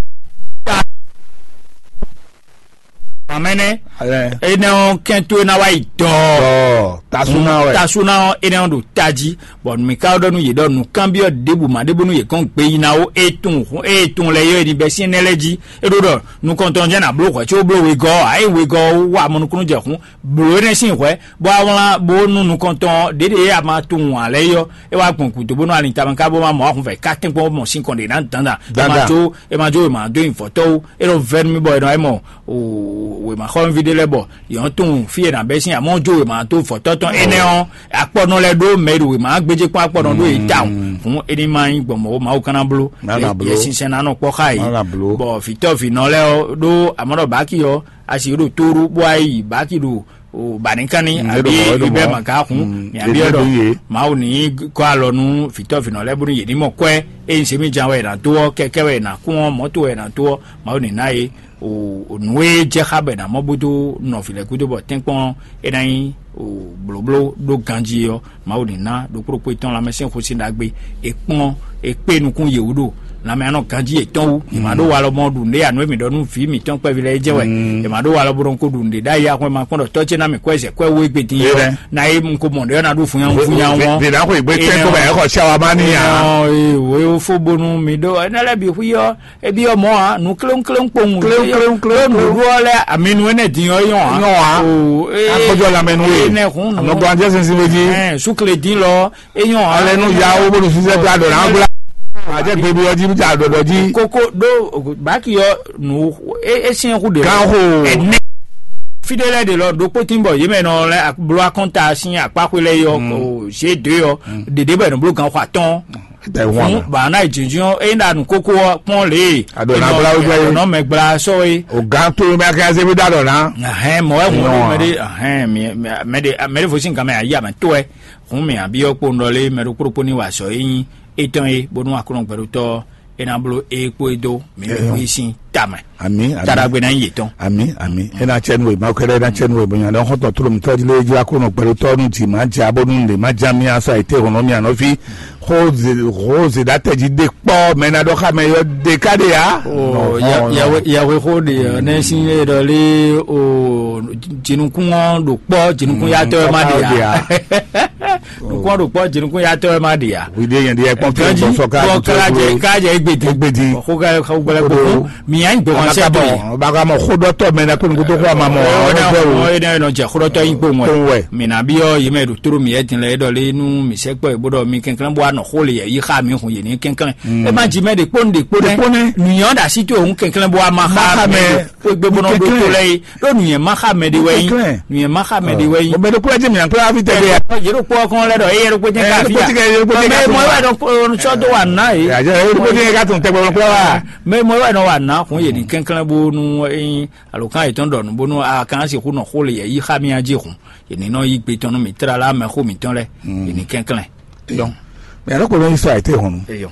Amɛnɛ. Alɛ. Enɛ ɔ kɛn to ena wa yi dɔ. Ɔ tasuna wɛ. Tasuna ɔ enɛ ɔ ɖo taji bɔn mi ka ɖɔ nu yi ɖɔ nu kanbiɔ ɖebu ma ɖebu nu yi kɔn gbe yi na wo etun etun lɛ yɔ eni bɛ si enɛ lɛ ji eɖo ɖɔ nukɔntɔn jɛ na blo hwɛ tso blo wegɔ ayi wegɔ wa mɔnukunu jɛ hun blo enɛ si hwɛ bɔ awlan bo nu nukɔntɔn ɖeɖe ye a ma tunun alɛ yɔ e wa gbɔn kudo bónú ali tama ka bó ma mɔ ahun fɛ ka tɛnkpɔn mɔ sin kɔn ɖe na dandan e ma Dandan. Tso e ma tso e ma do nyi vɔtɔwo e ɖo vɛnu mi bɔ e nɔ e mɔ o wema xɔlɔnvi ɖe lɛ bɔ yɔn tun fi e na bɛ sin amɔ jo wema to vɔtɔ tɔn enɛ ɔ akpɔnɔ lɛ ɖo mɛ ɖo wema gbedze kpɔn akpɔnɔ ɖo yi ta o hun eni ma nyi gbɔn mɔ o ma o kana blo Mana blo. Yɛ sinsɛn na nɔ kpɔ xa yi Mana blo. Bɔ vitɔ vinɔ lɛ ɔ ɖo amɔ ɖɔ baki ɔ asi ɖo toru bó ayi baki ɖo o banikanni Mm, abi eɖo mɔ ibɛ ɔ́. Maka hun Mm, mi abi eɖo eɖɔ ye. Mawu ni kɔ alɔ nu vitɔ vinɔ lɛ bónú yě ní mɔ kɔɛ eye se mi jan wɛ na to ɔ kɛkɛ wɛ na kún ɔ mɔto wɛ na to ɔ mawu ni na ye o o nu e jɛ xa bɛ na mɔ bódó nɔ vi lɛ gúdo bɔ tɛnkpɔn e na nyi o blóbló ɖó ganji ɔ mawu ni na ɖokpó ɖokpó etɔn lamɛ sɛn xo sin ɖagbe ekpɔn ekpe nukun yewu ɖo lanmɛ anɔ ganji etɔn wu ema ɖo walɔ mɔ ɖu nɖe anu emi ɖɔ nu vi mitɔn kpɛvi lɛ jɛ wɛ ema ɖo walɔ bɔ ɖɔn ko ɖu nɖe ɖa ya xɔ ema kpɔn ɖɔ tɔ ce na mi kɔ ɛsɛ kɔ ɛwo egbe din yɔ Ewɛ. Na ye mu ko mɔ ɖe na ɖu funya funya wɔn Vena ko igbe tɛ ko bɛ ɛkɔ sia wa ma ni ya. Ee wo fo bonu mi ɖo ɛnɛ lɛ bi hu yɔ ebi yɔ mɔ a nu kléŋkléŋ kpowun Kléŋkléŋ, kléŋkléŋ. Ɖo nuɖuɖu ɔ lɛ aminu ɛnɛ din yɔ yɔn a Yɔn a. O ee Akpɔjɔ lamɛnu ye. Enɛ hun nu Anɔgbɔ anjɛ sinsin we ji. Ɛn sukle din lɔ eyɔn a Alɛ nu ya wo bonu sisɛ gba dɔ na gbla. Ajɛ gbebi ɔji bi ta dɔdɔ ji. Koko ɖo baki yɔ nu e e siɲɛ ku de Gan xo. Ɛnɛ fi ɖe lɛ de lɔ ɖokpó tin bɔ yemɛ nɔ lɛ blo akɔnta sin akpaxwe lɛ yɔ o g deux yɔ ɖeɖe bɔ ɛnɔ blo gan xɔ atɔn Ɛtɛ wọn fún na. Bana ìjìnjìn ɔ eyi ɖa nu kókó ɔ kpɔn lè Aɖo na gbla wɛ gbla ye. Nɔ mɛ gbla sɔ ye O gan to mi akɛ aze bi da dɔ na. Ahɛn mɔ wɛ ŋun Nɔ. Mɛ de ahɛn mɛ de mɛ de fo sin gan mɛ ayi amɛ to wɛ hun mi abi ɔ kpo nɔ lé mɛ ɖo kpóɖokpó ní wa sɔ yi nyi etɔn ye bónú akɔnɔ gbɛɖotɔ e na blo e kpo e dó mi bɛ kpo yi sin tamɛ Ami, ami. Taɖagbe na nyi yetɔn. Ami, ami. Ena tsɛnu we, ma kɛɖɛ ena tsɛnu we, bonya dɔn xɔtɔ tolo mi tɔji le jla ko nɔ gbɛɖo tɔnu ti ma ja bonu le ma ja mi asa ite hono mi anɔfi. Ho ze ho ze da tɛji de kpɔ mɛ na dɔ xa mɛ yɔ de ka de ya. Yahweh ho de ne sin e dɔ le o jinukun ɔ ɖo kpɔ jinukun ya tɔ ma de ya. Nukún ɖo kpɔ́ jinukún yatɔ́ wɛ má ɖe ǎ. Wíde yẹn ɖi ẹkpọ́n tó Jɔji gbɔsɔ ká bɔ tó kájɛ égbèdì. Égbèdì. Xó ká xó gbɛlɛ Kodo. Kókó. Mìyá ń gbé wọn sẹ́ tó yẹ. Bàbá mọ xódɔtɔ mɛ na kó ní kótó kó a ma mọ àwọn ọgbẹ́ o. Ɔyɛ náà nɔ jɛ xódɔtɔ yín gbó Tó ŋwɛ. Wɛ. Mìnà bí ɔ yìí mɛ ɖo tóró mìyɛ din lɛ é ɖɔ lé nú mì sɛ kpɔ ìbúdɔ mi kɛnklɛn bó anɔ xó lè yɛ yí xá mi hun yě ní kɛnklɛn. Ɛ má jí mɛ ɖe kpó ní ɖe kpó Ɖe kpó nɛ. Nɛ. Nùyàn ɖa sí tó òun kɛnklɛn bó a ma Má xá xá mi. Mɛ. Kó gbé bó nɔ ɖó tó Kɛnklɛn. Lɛ yìí. Ɖó nùyàn má xá mɛ ɖe wɛ yín. Kɛnklɛn. Nùyàn má xá mɛ ɖe wɛ yín. Mo bɛ ɖo kúlẹ̀ jẹ́ mi nà kúlẹ̀ wá fi tẹ̀lé ya. Yé ɖo kpɔ́ kɔn lɛ ɖɔ eye ɖo kpɔ́ jẹ́ ká fi ya. Mɛ mɔ wɛ nɔ sɔ dó wà ná yìí. Yàjẹ́ ẹ ló dé ká tún tẹ gbọ́dọ̀ kúlẹ̀ wá. Mɛ mɔ wɛ nɔ wà ná kún yé ní kɛnklɛn bó nú ẹyin alo kán yìí tɔn dɔn nú bónú a kàn sí kú nɔ xó lè yɛ yí xá mi a jí hun. Yé ní nɔ yí gbé tɔn nú mi tlala mɛ xó mi tɔn lɛ. Yé ní kɛnklɛn. Dɔn. Mɛ yàrá kò lóyún sọ àìtẹ́ ìhùn. Eyɔ.